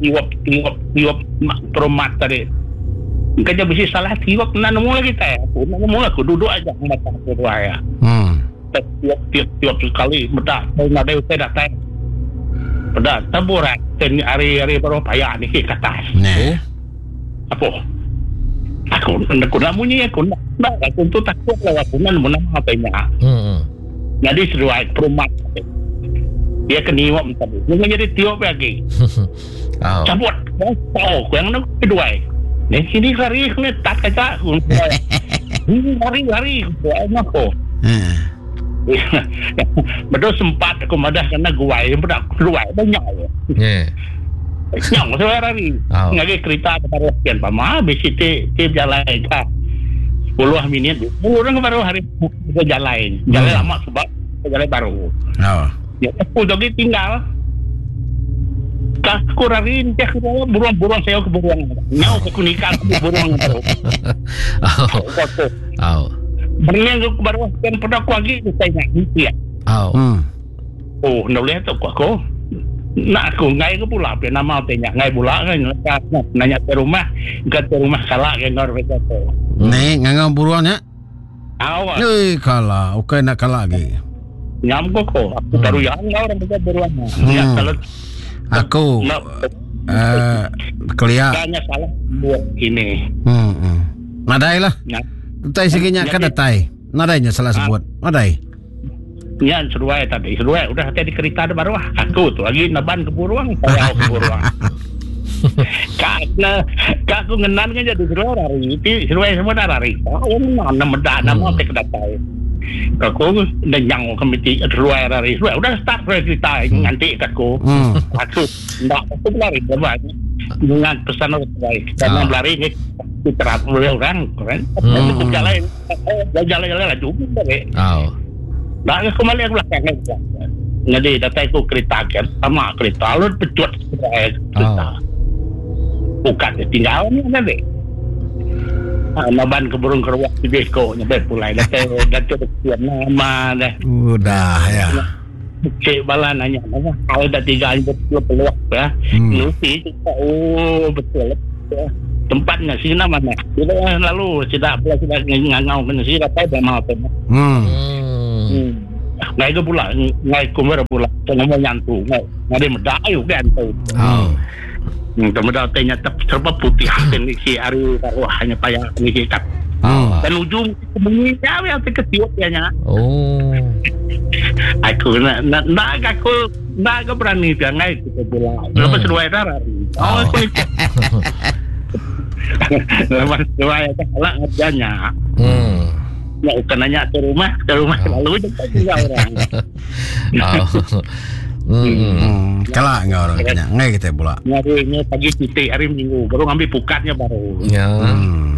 Tiup tiup tiup mak peromat tadi. Kerja besi salah tiup nak nemu lagi teh. Aku nak nemu aku duduk aja mata aku dua ya.
Hmm.
Tiup tiup tiup sekali bedak nak ada utai dah teh. Bedak taburan ten hari-hari baru payah ni ke atas.
Nah.
Apa? Aku aku nak bunyi aku nak nak aku tu takut lah aku nak nemu nama apa nya.
Hmm.
Jadi seruai perumat. Dia kena niup tadi. Dia jadi tiup lagi.
Oh.
Cabut. Oh, yang nak kedua. Ni sini lari kena tak kaca. Ini lari lari. Aku aku.
Eh.
Betul sempat aku madah kena guai, bedak keluar banyak.
Yeah.
Nyong saya lari.
Oh.
Ngagi kereta baru sekian pama bisi ti ti jalan ka. sepuluh minit. Orang baru hari ke jalan. Jalan
Hmm.
lama sebab jalan baru.
Oh.
Ya, aku lagi tinggal. Aku lari dia aku burung-burung saya ke burung. Nyau aku nikah aku burung.
Oh. Oh.
Berenang aku baru kan pada aku lagi saya nak ya.
Oh.
Hmm.
Oh, nak boleh tu aku. Nak aku ngai ke pula apa nama apa nya ngai pula kan nanya ke rumah ke rumah kalah ke ngor ke tu.
Ni ngangau buruannya.
Awak
Eh kalah, okey nak kalah lagi.
nyam ko ko aku
Hmm.
baru yang orang ke buruan.
Hmm.
Ya kalau
Aku
nak
eh kelia.
tanya salah buat ini.
Hmm. hmm. Nadai lah.
Ya.
Tai seginya kan datai. Nadainya salah sebut. Nadai.
Ya seruai tadi seruai udah tadi kereta ada baru ah. Aku tu lagi naban ke buruang saya ke buruang. Karena kak aku ngenan kan jadi seruai lari. Itu seruai semua dah lari. Oh nama medak nama
Hmm.
apa kedatai. Aku dan yang komiti seruai lari. Seruai udah start seruai cerita nganti kat aku.
Hmm.
Aku ndak aku lari berapa dengan pesan orang baik. Karena
Ah.
berlari ni diterap oleh orang kan.
Hmm.
Aku jalan jalan jalan laju balik.
Oh.
Dah aku balik aku belakang kan. Jadi datang aku kereta kan sama kereta lalu pecut kereta.
Oh.
Bukan dia tinggal ni nanti. Ah, naban ke burung keruak di beko nyampe pulai datang datang kesian nama dah.
Udah ya.
Cik bala nanya nama hal dah tiga hari betul peluak ya.
Hmm.
Nusi cakap, oh betul. Tempatnya sini mana? Kita lalu sudah sudah ngangau kena sini dapat dah mau apa?
Hmm.
Hmm. Ngai ke pula, ngai kumber pula, ngomong nyantu, ngai ngai medak ayu kan tu.
Oh.
Hmm, kemudian tanya serba putih dan si ari wah hanya payah ni kitab.
Hmm.
Dan ujung bunyi ya yang terketiup ya nya.
Oh.
Aku nak nak nak aku nak berani dia ngai ke pula. Lepas dua darah. Oh, aku lepas dua ya lah ngerjanya.
Hmm.
Ya bukan nanya ke rumah, ke rumah lalu jumpa juga orang.
Oh. Hmm.
Kalah enggak orang kena. Ngai kita pula.
Ngari pagi titik hari Minggu baru ngambil pukatnya baru.
Ya.
Hmm.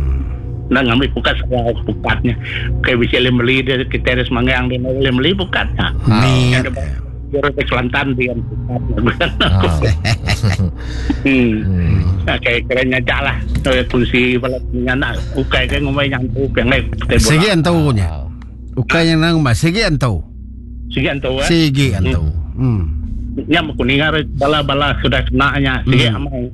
Nah ngambil pukat segala pukatnya. Kayak bisa beli dia kita ada semanggang dia boleh beli pukatnya.
Hmm.
Dia ke Kelantan dia pukatnya. Hmm. Kayak kerennya jalah. Kunci bala anak ukai kan ngomong nyantu yang lain.
Sigi antunya. Ukai yang nang mas sigi antu.
Sigi antu.
Sigi antu. Hmm.
Nya kuningar bala-bala sudah kenanya sigi amai.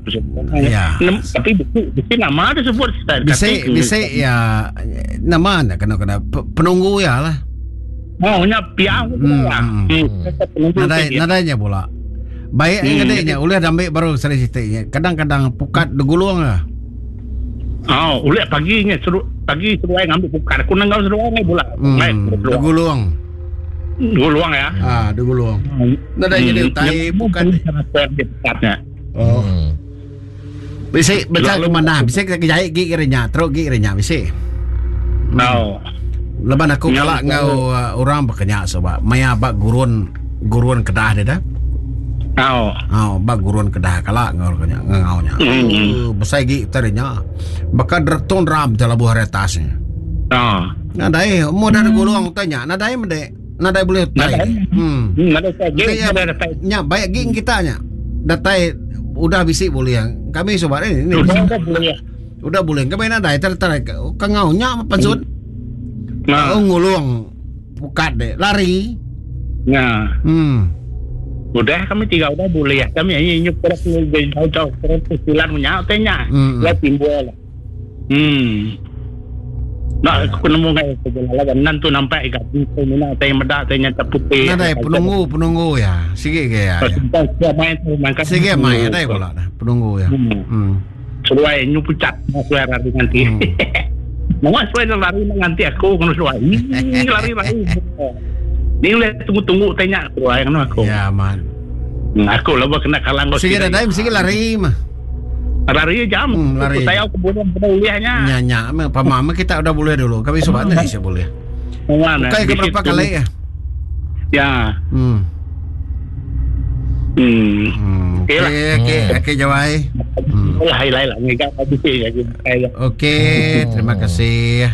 Ya.
Tapi bisi nama ada sebut.
Bisi bisi ya nama nak kena kena penunggu ya lah.
Oh nya piang.
Nadai nadainya pula. Baik ngadainya ulih ambil baru sari sitiknya. Kadang-kadang pukat degulung lah.
Oh, ulih paginya seru pagi seruai ngambil pukat. Aku nang seruai ngai pula.
Degulung.
Degulung ya.
Ah, degulung. Nadai jadi utai pukat. Oh. Bisi baca ke mana? Bisi ke jahit gi kiranya, teruk gi kiranya bisi.
No.
Leban aku kalak ngau orang berkenyak sebab maya bak gurun gurun Kedah dia dah.
Oh.
Oh, bak gurun Kedah kalak ngau kenyak ngaunya.
Mm.
Besai gi tarinya. Bakal derton ram dalam buah retasnya.
Oh.
Nadai mu dah gulung tanya, nadai mendek. Nadai boleh tai.
Hmm. Nadai tai.
Nya baik gi kita nya. Datai udah bisi boleh. Kami sobat ini.
Udah boleh.
Udah boleh. Kami nadai ter ter kangau nya pansut.
Nah,
oh, ngulung pukat deh, lari.
Nah.
Hmm.
Udah kami tiga udah boleh ya. Kami ini nyup terus jauh-jauh terus silan punya tanya. Lah timbul. Hmm. Nah, aku nemu ngai sebelah lah nan tu nampak ikat mina teh medak teh nyata putih.
Nadai penunggu penunggu ya. Sige ke ya. Sige mai adai pula dah penunggu ya. Hmm.
Seruai nyu pucat seruai lari nanti. Mau seruai lari nanti aku kono seruai. Lari lari. Ni boleh tunggu-tunggu tanya seruai kono aku.
Ya man.
Aku lah kena kalang.
Sige adai sige lari mah.
Lari jam.
Hmm, lari.
Saya aku boleh bolehnya.
Nya nya, pamama kita udah boleh dulu. Kami sobat nih saya boleh.
Mana?
Bukan ke berapa kali ya?
Ya.
Hmm.
Hmm.
Okey, okey, okey Jawai.
Lah lah lah enggak habis ya.
Okey, terima kasih.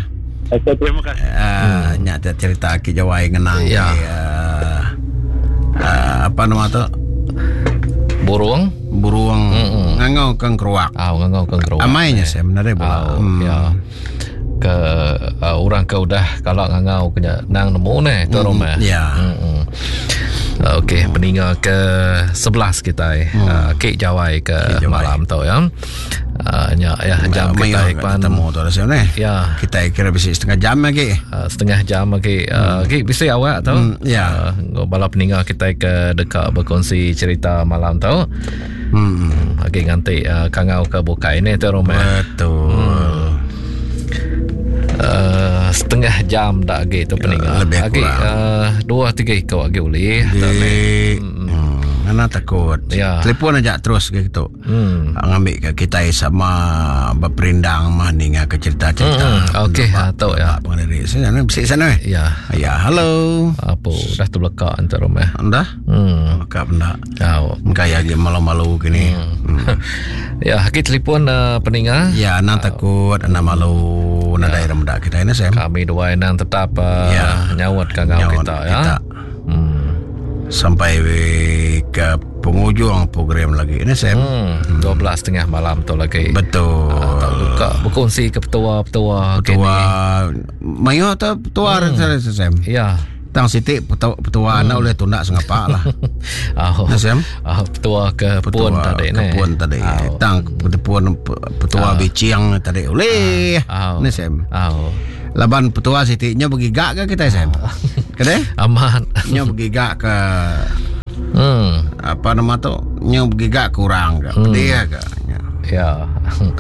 Okey, terima kasih.
Ah, nya cerita Ki Jawai ngenang
ya.
Uh, uh, apa nama tu?
Burung
burung mm-mm. Ngangau kang keruak.
Ah, ngangau kang keruak.
Amainya saya menarik bola.
Oh, hmm. Ya. Ke uh, orang ke udah kalau ngangau kena nang nemu neh tu rumah.
Ya.
Hmm. Okey, peninga ke sebelas kita eh.
Hmm.
Uh, Kek Jawai ke
Kek Jawai.
Malam tu ya. Uh, nya ya jam kita
pan temu tu rasa ni.
Ya.
Kita kira bisa setengah jam lagi.
Uh, setengah jam lagi. Uh, hmm. Bisa awak tu.
Hmm, ya.
Uh, bala peninga kita ke dekat berkongsi cerita malam tu.
Hmm.
Okey nganti uh, kangau ke buka ini tu rumah.
Betul.
Hmm. Uh, setengah jam dak lagi tu peninga.
Lebih
lagi uh, dua tiga ekor lagi boleh.
Di, hmm. Ana takut.
Ya.
Telefon aja terus gitu.
Hmm.
Ngambil ke kita sama berperindang mah ninga ke cerita-cerita.
Hmm. Okey, atau ya.
Pengadiri. Sana bisik sana.
Ya.
Ya, halo.
Apa dah terlekak antar rumah.
Dah?
Hmm.
Lekak benda.
Tahu.
Gaya lagi malu-malu gini.
Hmm.
Hmm.
Ya, kita telefon uh, peninga.
Ya, ana takut, ana malu, ana daerah muda kita ini Sam.
Kami dua inang tetap uh,
ya.
Nyawat kangau kita ya.
Kita.
Hmm.
Sampai ke penghujung program lagi ini Sam.
Hmm, dua belas tiga puluh malam tu lagi.
Betul.
Uh, tak buka berkongsi ke petua-petua
petua. Mayo atau petua
hmm.
Sam.
Ya.
Tang siti petua hmm. Oleh tunda sengapa lah.
Oh. Oh, petua ke pun tadi
ni. Pun tadi. Oh. Tang pun petua oh. Bicing tadi oleh. Oh. Ni Sam.
Oh.
Laban petua siti nya bergigak ke kita Sam? Kene?
Aman.
Nya bergigak ke
hmm.
Apa nama tu? Nya bergigak kurang ke.
Hmm.
Pedih ke.
Ya. Hmm.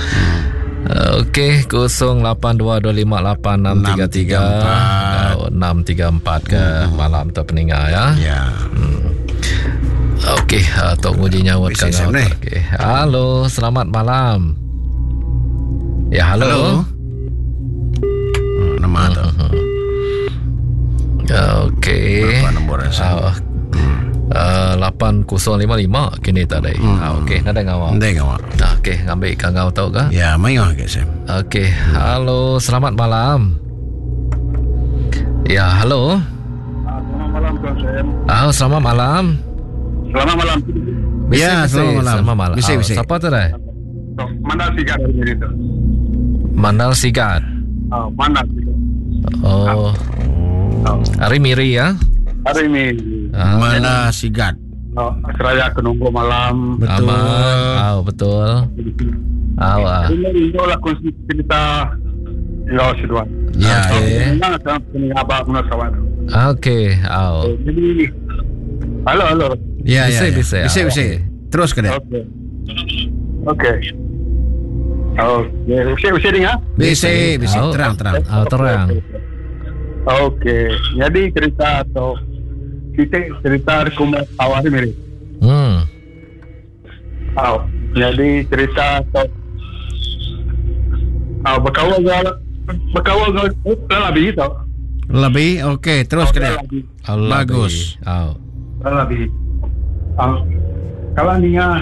Okey, kosong lapan dua dua lima lapan enam tiga tiga enam tiga empat ke hmm. Malam tu peninga ya.
Ya.
Hmm. Okey, uh, tok nguji nyawa
kan.
Okey. Halo, selamat malam. Ya, halo.
Halo. Hmm, nama tu.
Okey.
Berapa nombor
uh, Uh, lapan kosong lima lima kini tadi.
Hmm.
Ah, okey, nada ngawak.
Nada ngawak.
Ah, okey, ngambil ikan ngau tau ke?
Ya, mayo ke Sam.
Okey, halo, selamat malam. Ya, halo.
Ah, selamat malam Tuan Sam.
Ah, selamat malam.
Selamat malam.
Bisi,
ya,
bisi.
Selamat malam.
Selamat malam.
Bisi, bisi.
Ah, siapa tu dah?
Mandal Sigat dari Miri tu.
Mandal Sigat.
Ah, Mandal Sigat.
Oh.
Ah.
Hari Miri ya.
Hari ini
ah.
Mana Sigat.
Oh, seraya aku nunggu malam.
Betul.
Aman. Oh, betul. Ah, oh,
Ini lah kunci cerita Lo seduan.
Ya.
Okey. Okey, oh.
Jadi halo halo.
Ya,
bisa,
ya.
Bisa,
bisa, bisa. Terus ke dia.
Okey. Okey. Okey, bisa bisa dengar?
Bisa, bisa. Terang, terang.
Oh, terang.
Okey. Jadi cerita atau kita cerita aku awal ni.
Hmm.
Oh, jadi cerita atau oh, berkawal berkawal lebih tau.
Lebih, okey, terus ke dia. Bagus.
Oh.
Lebih. Oh. Kalau ni ah.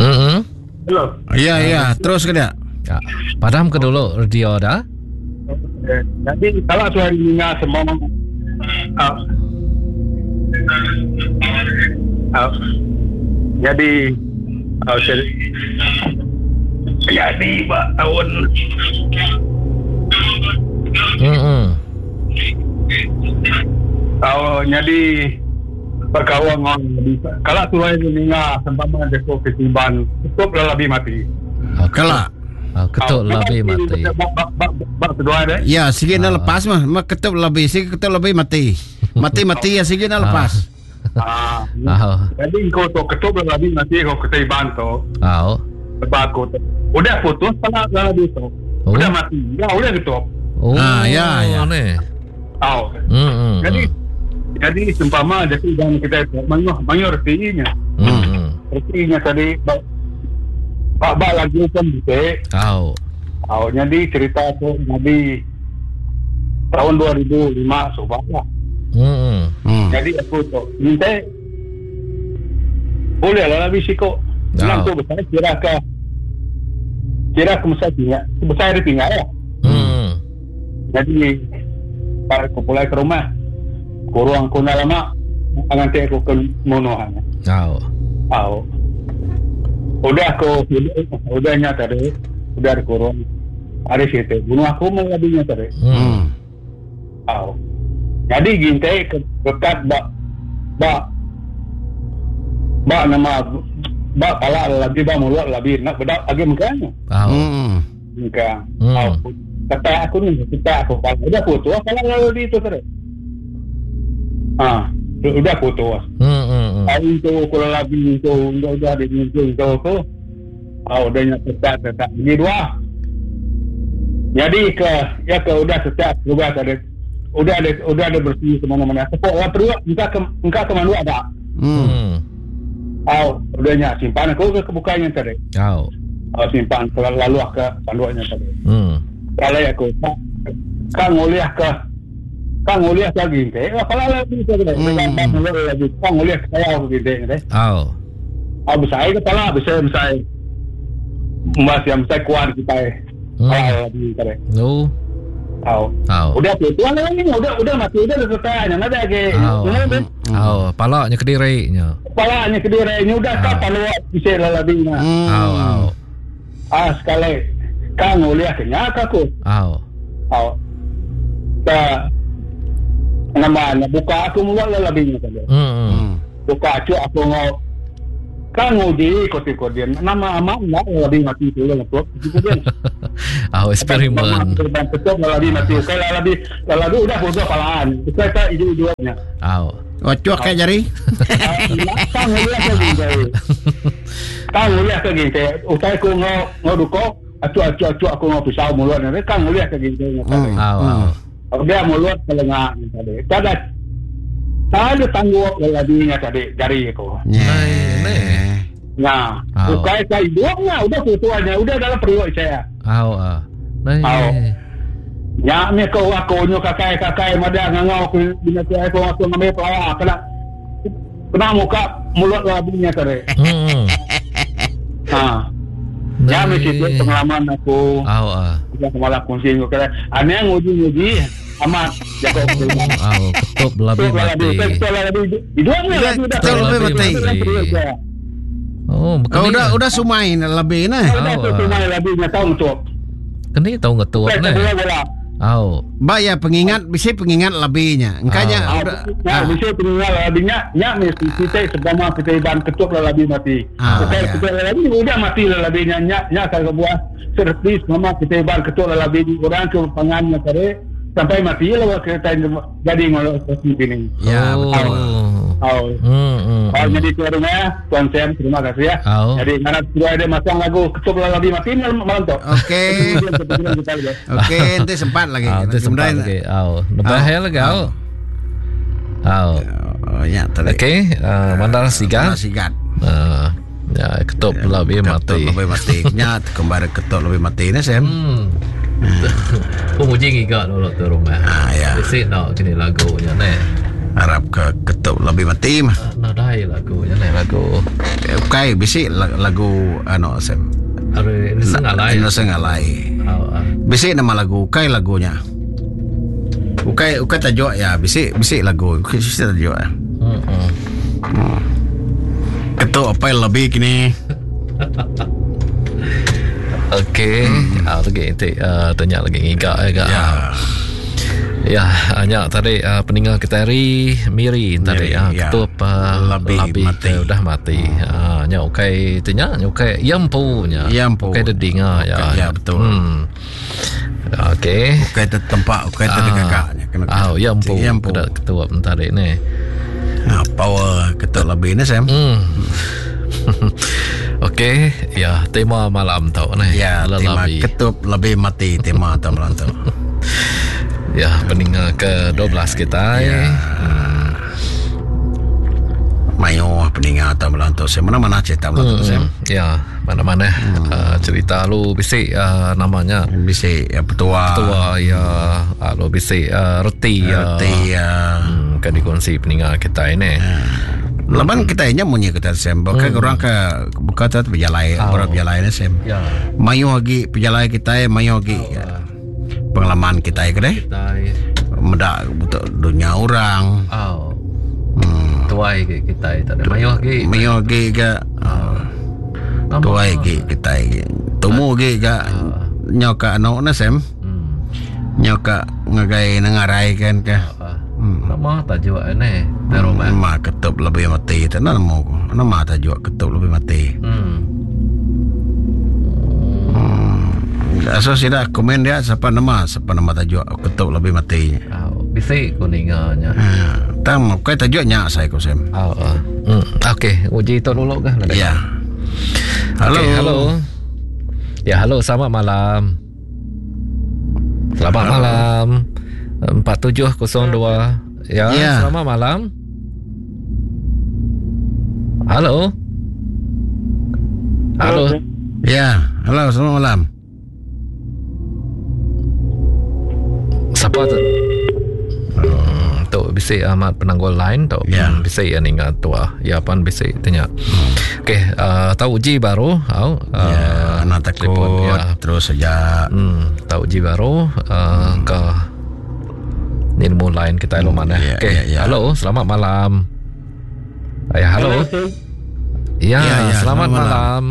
Hmm.
Hello.
Ya, ya, terus ke dia.
Ya. Padam ke dulu radio dah.
Okay. Jadi kalau tu hari ni semua uh, uh, jadi uh, jadi pak tahun
hmm.
Tahun jadi berkawan kalau tu hari ni sempama deko ketiban cukup lebih mati.
Kelak.
Oh, ketuk lebih mati.
Ya, sikit nak lepas mah. Mah ketuk lebih, sikit ketuk lebih mati. Mati-mati ya sikit nak lepas.
Ah. Jadi kau tu ketuk lebih mati kau ketiban tu.
Ah.
Sebab aku tu. Udah putus pala lebih tu. Udah mati. Ya, udah ketuk.
Oh.
Ah, ya, ya.
Oh.
Hmm.
Jadi jadi sempama jadi dan kita manyo manyo retinya.
Hmm.
Retinya tadi Pak Bak lagi pun bisa.
Oh.
Oh, jadi cerita tu jadi tahun dua ribu lima sebab lah.
Hmm.
Hmm.
Jadi aku tu minta boleh lah lebih sikok. Senang tu besar kira ke kira ke besar tinggal, besar dia tinggal ya.
Hmm.
Jadi para aku pulang ke rumah, kurang aku nak lama, nanti aku ke monohan.
Oh.
Oh. Udah aku udah nyata tadi, udah dikurung. Ada situ, bunuh aku mau lebihnya tadi.
Hmm.
Oh. Jadi gintai dekat bak bak bak nama bak pala lagi bak mulut lagi nak bedak lagi mukanya.
Oh.
Hmm.
Muka.
Hmm.
Oh. Kata aku ni, kata aku pala udah putus, pala lalu itu tadi. Ah, udah putus.
Hmm, hmm, hmm.
Ah, itu kalau lagi itu udah udah di itu itu aku. Ah, udah nyak tetap tetap ini dua. Jadi ke ya ke udah setiap udah ada udah ada udah ada bersih ke mana-mana. Sepok lah perlu engkau ke engkau ke mana ada.
Hmm.
Oh, udah nyak simpan aku ke kebukanya tadi.
Oh.
Oh, simpan ke lalu ke panduannya tadi.
Hmm.
Kalau aku kan ngoliah ke kan ngoliah lagi teh. Kalau lagi tadi.
Hmm.
Lagi kan ngoliah saya aku gitu teh.
Oh.
Oh, besar ke pala besar besar. Mas yang besar kuat kita.
Hmm.
Kalau lagi tadi.
No.
Oh.
Oh.
Udah putus lagi, udah udah mati udah selesai. Nang ada ke.
Oh. Oh, palaknya kedirinya.
Palaknya kedirinya udah
Ah.
kapan lu bisa lebih nah.
Hmm.
Oh, oh.
Ah, sekali. Kan ngoliah kenyaka aku.
Oh.
Oh.
Ta nama buka aku mulut lelabinya tadi.
Hmm.
Buka cu aku ngau kan nguji koti-kodin nama amat enggak lelabi mati tu lah tu.
Ah eksperimen.
Betul lelabi mati. Okey lelabi lelabi udah bodoh palaan. Kita tak iju-ijuannya.
Au.
Oh cuak kayak jari.
Kang uliah ke gini. Kang uliah ke gini. Utai ku ngau ngau duko acu-acu-acu aku ngau pisau mulut ni. Kang uliah ke gini.
Au. Au.
Dia mulut telengah tadi. Tak ada tak ada tanggup lelabinya tadi jari aku.
Nah.
Nah, bukan saya hidupnya, udah tuanya, udah dalam periuk saya.
Au ah. Nah.
Ya, ni kau aku nyo kakai-kakai mada ngangau aku bina saya aku aku ngambil pelawak kena kena muka mulut lelabinya tadi.
Hmm.
Ha. Ya, mesti pengalaman aku.
Au ah.
Kita malah kongsi kau kira. Ane nguji-nguji amat jago.
Au, ketup lebih mati.
Ketup lebih. Hidupnya
ketup lebih mati.
Oh,
oh udah udah sumai lebih nah.
Udah sumai lebih nya tahu ngetup.
Keni tahu ngetup nah. Au.
Ba ya pengingat bisa pengingat lebihnya. Engkanya
udah bisa pengingat lebihnya nya mesti kita sebama kita iban ketup lebih mati. Bukan ketup lebih udah mati lebihnya nya nya kalau buah sertis mama kita iban ketup lebih orang ke pangannya tadi sampai mati lah kita jadi ngolok seperti ini.
Ya betul.
Oh.
Hmm, hmm,
oh, jadi tuan rumah, Tuan Sam, terima kasih ya.
Oh.
Jadi mana sudah ada masang lagu ketup lebih mati malam, malam tu.
Okey. Okey, nanti sempat lagi.
Ah, nanti sempat lagi. Oh, lebih lagi. Oh. Oh.
Oh, ya tadi.
Okey, uh, Mandar Sigat.
Mandar Sigat.
Uh, ya, ketup ya, lebih mati.
Ketup lebih mati. Nya kembali ketup lebih mati ni Sam.
Hmm. Penguji ngigak dulu tu rumah.
Ah, ya.
Bisi nak kini lagunya ni.
Harap ke ketup lebih mati mah.
Nadai lagunya ni lagu.
Okey, bisi lagu anu Sam.
Are Innocent Alai.
Innocent Alai. Bisi nama lagu, ukai lagunya. Ukai ukai tajuk ya, bisi bisi lagu, bisi tajuk ya.
Hmm.
Hmm. Ketup apa lebih kini?
Okey, hmm. Ah lagi nanti uh, tanya lagi ngigak ya.
Ya.
Ya, hanya tadi uh, peninggal kita hari Miri tadi ya,
ya.
Ketup uh,
lebih, lebih mati.
Uh, udah mati. Hmm. Ah, nya ukai tanya, nya ukai yampu nya.
Yampu.
Ukai dedinga ya.
Ya betul.
Hmm. Okey.
Ukai tertempak, ukai terdekaknya kena.
Ah, yampu. Kena ketup tadi ni.
Ah, power ketup lebih ni Sam.
Hmm. Okey, ya tema malam tu ni.
Ya, tema ketup lebih mati tema tu malam tu.
Ya, pendengar ke dua belas kita.
Ya.
Hmm.
Mayo pendengar atau malam tu. Saya mana-mana cerita malam tu,
hmm.
Sam.
Ya, mana-mana hmm. uh, cerita lu bisi uh, namanya.
Bisi ya petua.
Petua ya, uh, lu bisi uh, reti ya.
Reti ya.
Hmm, kan dikongsi pendengar kita ini.
Ya. Laban kita ini munyi kita Sam. Bukan hmm. orang ke bukan tu berjalai,
oh.
orang berjalai ni Sam.
Ya.
Mayo lagi berjalai kita, mayo lagi.
Oh.
Ya. Pengalaman kita ya kedai. Mendak untuk dunia orang.
Oh.
Hmm.
Tuai ke kita tak ada mayo lagi.
Mayo lagi ke.
Oh.
Tuai ke kita. Tumu ke ke nyoka anu na Sam.
Hmm.
Nyoka ngagai nengarai kan ke.
Hmm. Nama tajuk ni. Terus
ma ketup lebih mati tak nama aku. Nama tajuk ketup lebih mati.
Hmm.
Asal sida komen dia siapa nama siapa nama tajuk ketup lebih mati.
Oh, bisi kuninganya.
Ha, tam kai tajuknya saya ko Sam.
Oh, oh. Hmm, okey, uji tu dulu kah?
Ya. Halo.
Okay, halo. Ya, halo, selamat malam. Selamat halo. Malam. empat tujuh kosong dua. Ya,
ya,
selamat malam. Halo. Halo.
Ya, halo, selamat malam.
Siapa tu? Hmm, tu bisi amat penanggul lain tu.
Ya.
Hmm, bisi yang ingat tua. Ya pan bisi tanya.
Hmm.
Okey, uh, tahu uji baru, au. Uh,
ya, anak takut
telefon, ya.
Terus saja.
Hmm, tahu uji baru uh,
hmm.
ke ilmu lain kita hmm, mana.
Ya,
Okey,
ya, ya.
Halo, selamat malam. Ya, halo. Ya,
Ya, ya,
selamat,
selamat
malam.
malam.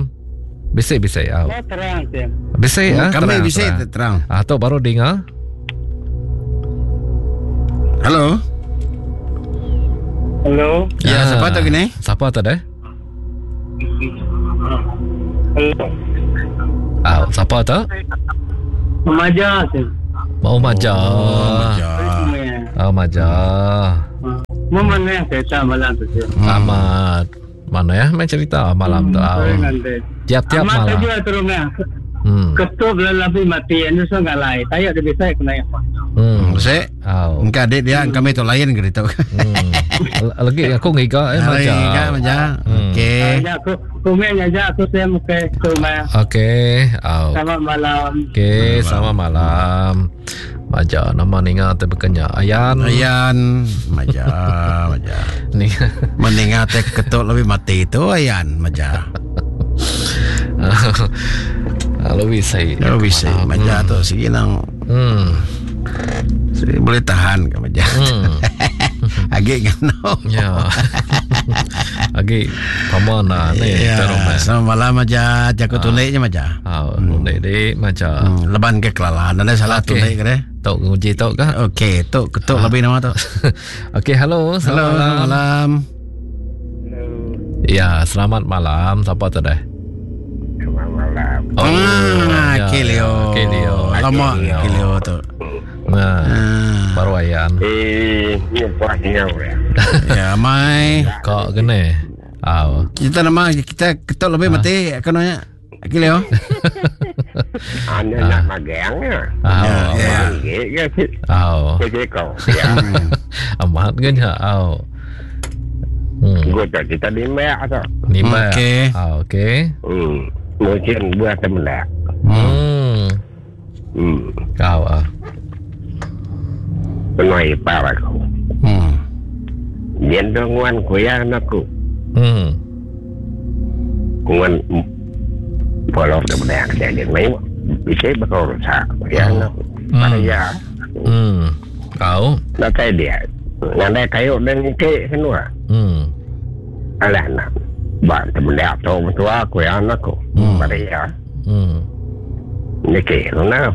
Bisi bisi au.
Terang,
Bisi ah.
Kami
terang,
bisi
terang.
terang.
Ah, tu baru dengar.
Halo.
Halo.
Ya, ah, siapa tu gini?
Siapa tu deh?
Halo.
Ah, siapa tu?
Maja.
Mau Maja.
Oh,
Oh, Maja.
Mau mana cerita malam tu?
Amat. Mana ya main cerita malam tu? Tiap-tiap malam.
Amat terus Hmm. Ketua lebih mati, ini so ngalai. Saya ada bisa kena apa?
Hmm. Sek. Oh. Engkau adik dia, kami tu lain ke itu.
Hmm. Lagi aku ngiga eh maja.
Ngiga maja. Okey.
Aku komen aja aku saya muka rumah.
Okey. Oh.
Selamat malam.
Okey, selamat malam. Maja nama ninga te bekenya Ayan.
Ayan maja maja.
Ni
meninga te ketuk lebih mati itu Ayan maja.
Lalu bisa.
Lalu bisa. Maja tu segi nang.
Hmm.
Segi boleh tahan ke maja.
Hmm.
Agak ngano.
Ya. Agak paman lah ni.
Ya. Selamat malam maja. Jago tulik je maja.
Ah, tulik dik maja.
Hmm. Leban ke kelalahan. Ada salah
okay.
Tulik ke deh.
Tok nguji tok ke?
Okey, tok ketuk lebih nama tok.
Okey, halo. Selamat
halo,
malam.
malam.
Halo.
Ya, selamat malam. Siapa tu deh?
Selamat malam.
Oh,
ah,
ya,
Kilio.
Kilio.
Lama Kilio tu.
Nah,
ah.
Baru ayan.
Eh, nyumpah nyau ya.
Ya, mai.
Kok kene? Aw.
Kita nama kita ketuk lebih mati aku nanya. Kilio.
Anu nak magang ya.
Aw.
Ya.
Aw.
Kau. Ya.
Amat kan ya. Aw. Hmm.
Gua tak kita limak tu.
Limak.
Okey.
Ah, okey.
Hmm. Mungkin buat temelak.
Hmm.
Hmm.
Kau ah.
Penuai para aku.
Hmm.
Gendongan kuya aku.
Hmm.
Kuan polok temelak jadi mai bisa bakal rusak kuya aku. Pada ya.
Hmm. Kau.
Nak kai dia. Nak kayu dan ke semua.
Hmm.
Alah nak. Ba temelak tu tua kuya aku. Pada ya.
Hmm.
Niki na.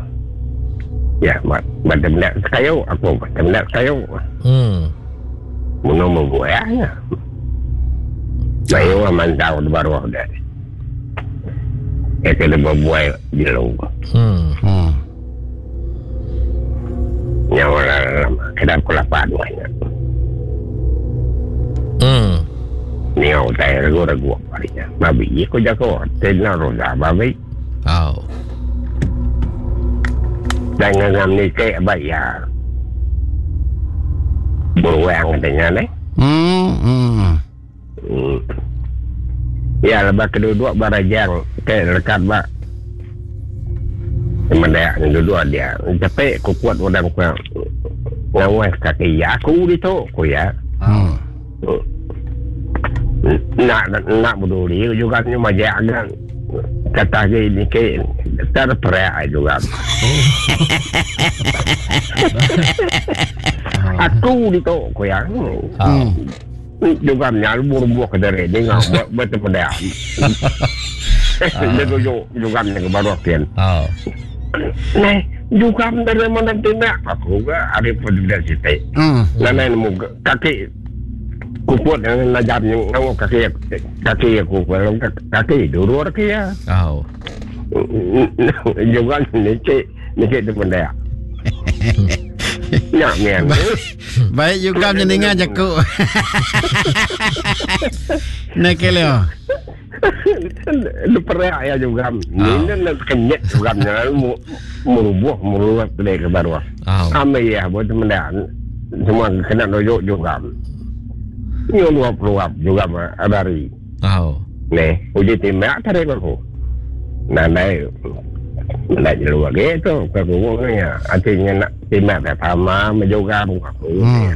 Ya, mat mat temelak kayu aku temelak kayu.
Hmm.
Muno membuahnya. Bayu aman tahu baru dah. Eh kena berbuai jelu.
Hmm.
Hmm.
Nyawa lama kena kulapan banyak.
Hmm.
Niau tai ragu-ragu parinya. Babi aku jago tena roda babi.
Aw.
Dan ngam ni ke bayar. Beruang katanya ni.
Hmm. Hmm.
Hmm. Ya lepas kedua-dua barajang ke lekat bak. Mendak dua-dua dia. Tapi aku kuat orang ku ngawas kaki aku di tu ku ya.
Hmm.
Nak nak peduli juga ni majak kan. Kata ni ke terperak juga. Aku di tu ku ya.
Hmm.
Juga nyal buah ke dari ni ngau betul betul. Dia tu juga ni ke baru kian.
Oh.
Nah, juga dari mana tindak aku ke ada pun dari situ.
Hmm.
Nana nemu kaki kuput yang najam yang ngau kaki kaki aku kalau kaki dulu kaki ya.
Oh.
Juga ni cik ni cik tu benda. Ya, mian.
Baik juga mendengar jaku. Nak kelio.
Lupa ya juga. Ni nak kenyet juga ni merubuh merubuh ke bawah. Amai ya buat benda. Semua kena dojuk juga. Ni luap-luap juga abari.
Oh.
Ni, uji timak tarik aku. Nah, naik. Nak jeluar gitu, aku ni artinya nak timak dah sama menjoga aku.
Hmm.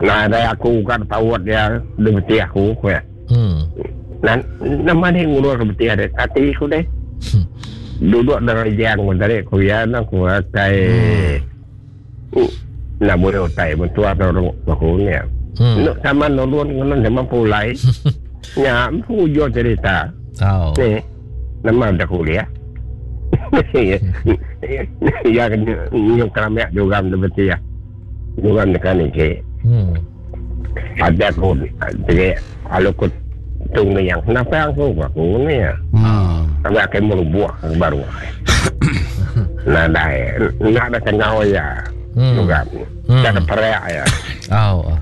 Nah, ada aku kan tahu dia dia beti aku ku ya.
Hmm.
Nah, nama dia ngurus ke beti ada hati aku deh. Duduk dari jang pun tadi aku ya nak aku kai. Nak boleh utai bentua atau aku ni.
Hmm.
Nak sama nolun dengan sama pulai. Ya, pujo cerita.
Oh.
Ni, nama dah kuliah. Ya, nyuk keramek juga betul ya.
Nuan deka niki.
Hmm.
Ada aku jadi alu ku tung yang kenapa aku aku ni ya.
Hmm.
Sampai aku merubuh ke baru. Nadai, nak ada kengau ya.
Hmm.
Juga.
Hmm.
Tak ada perak ya.
Oh.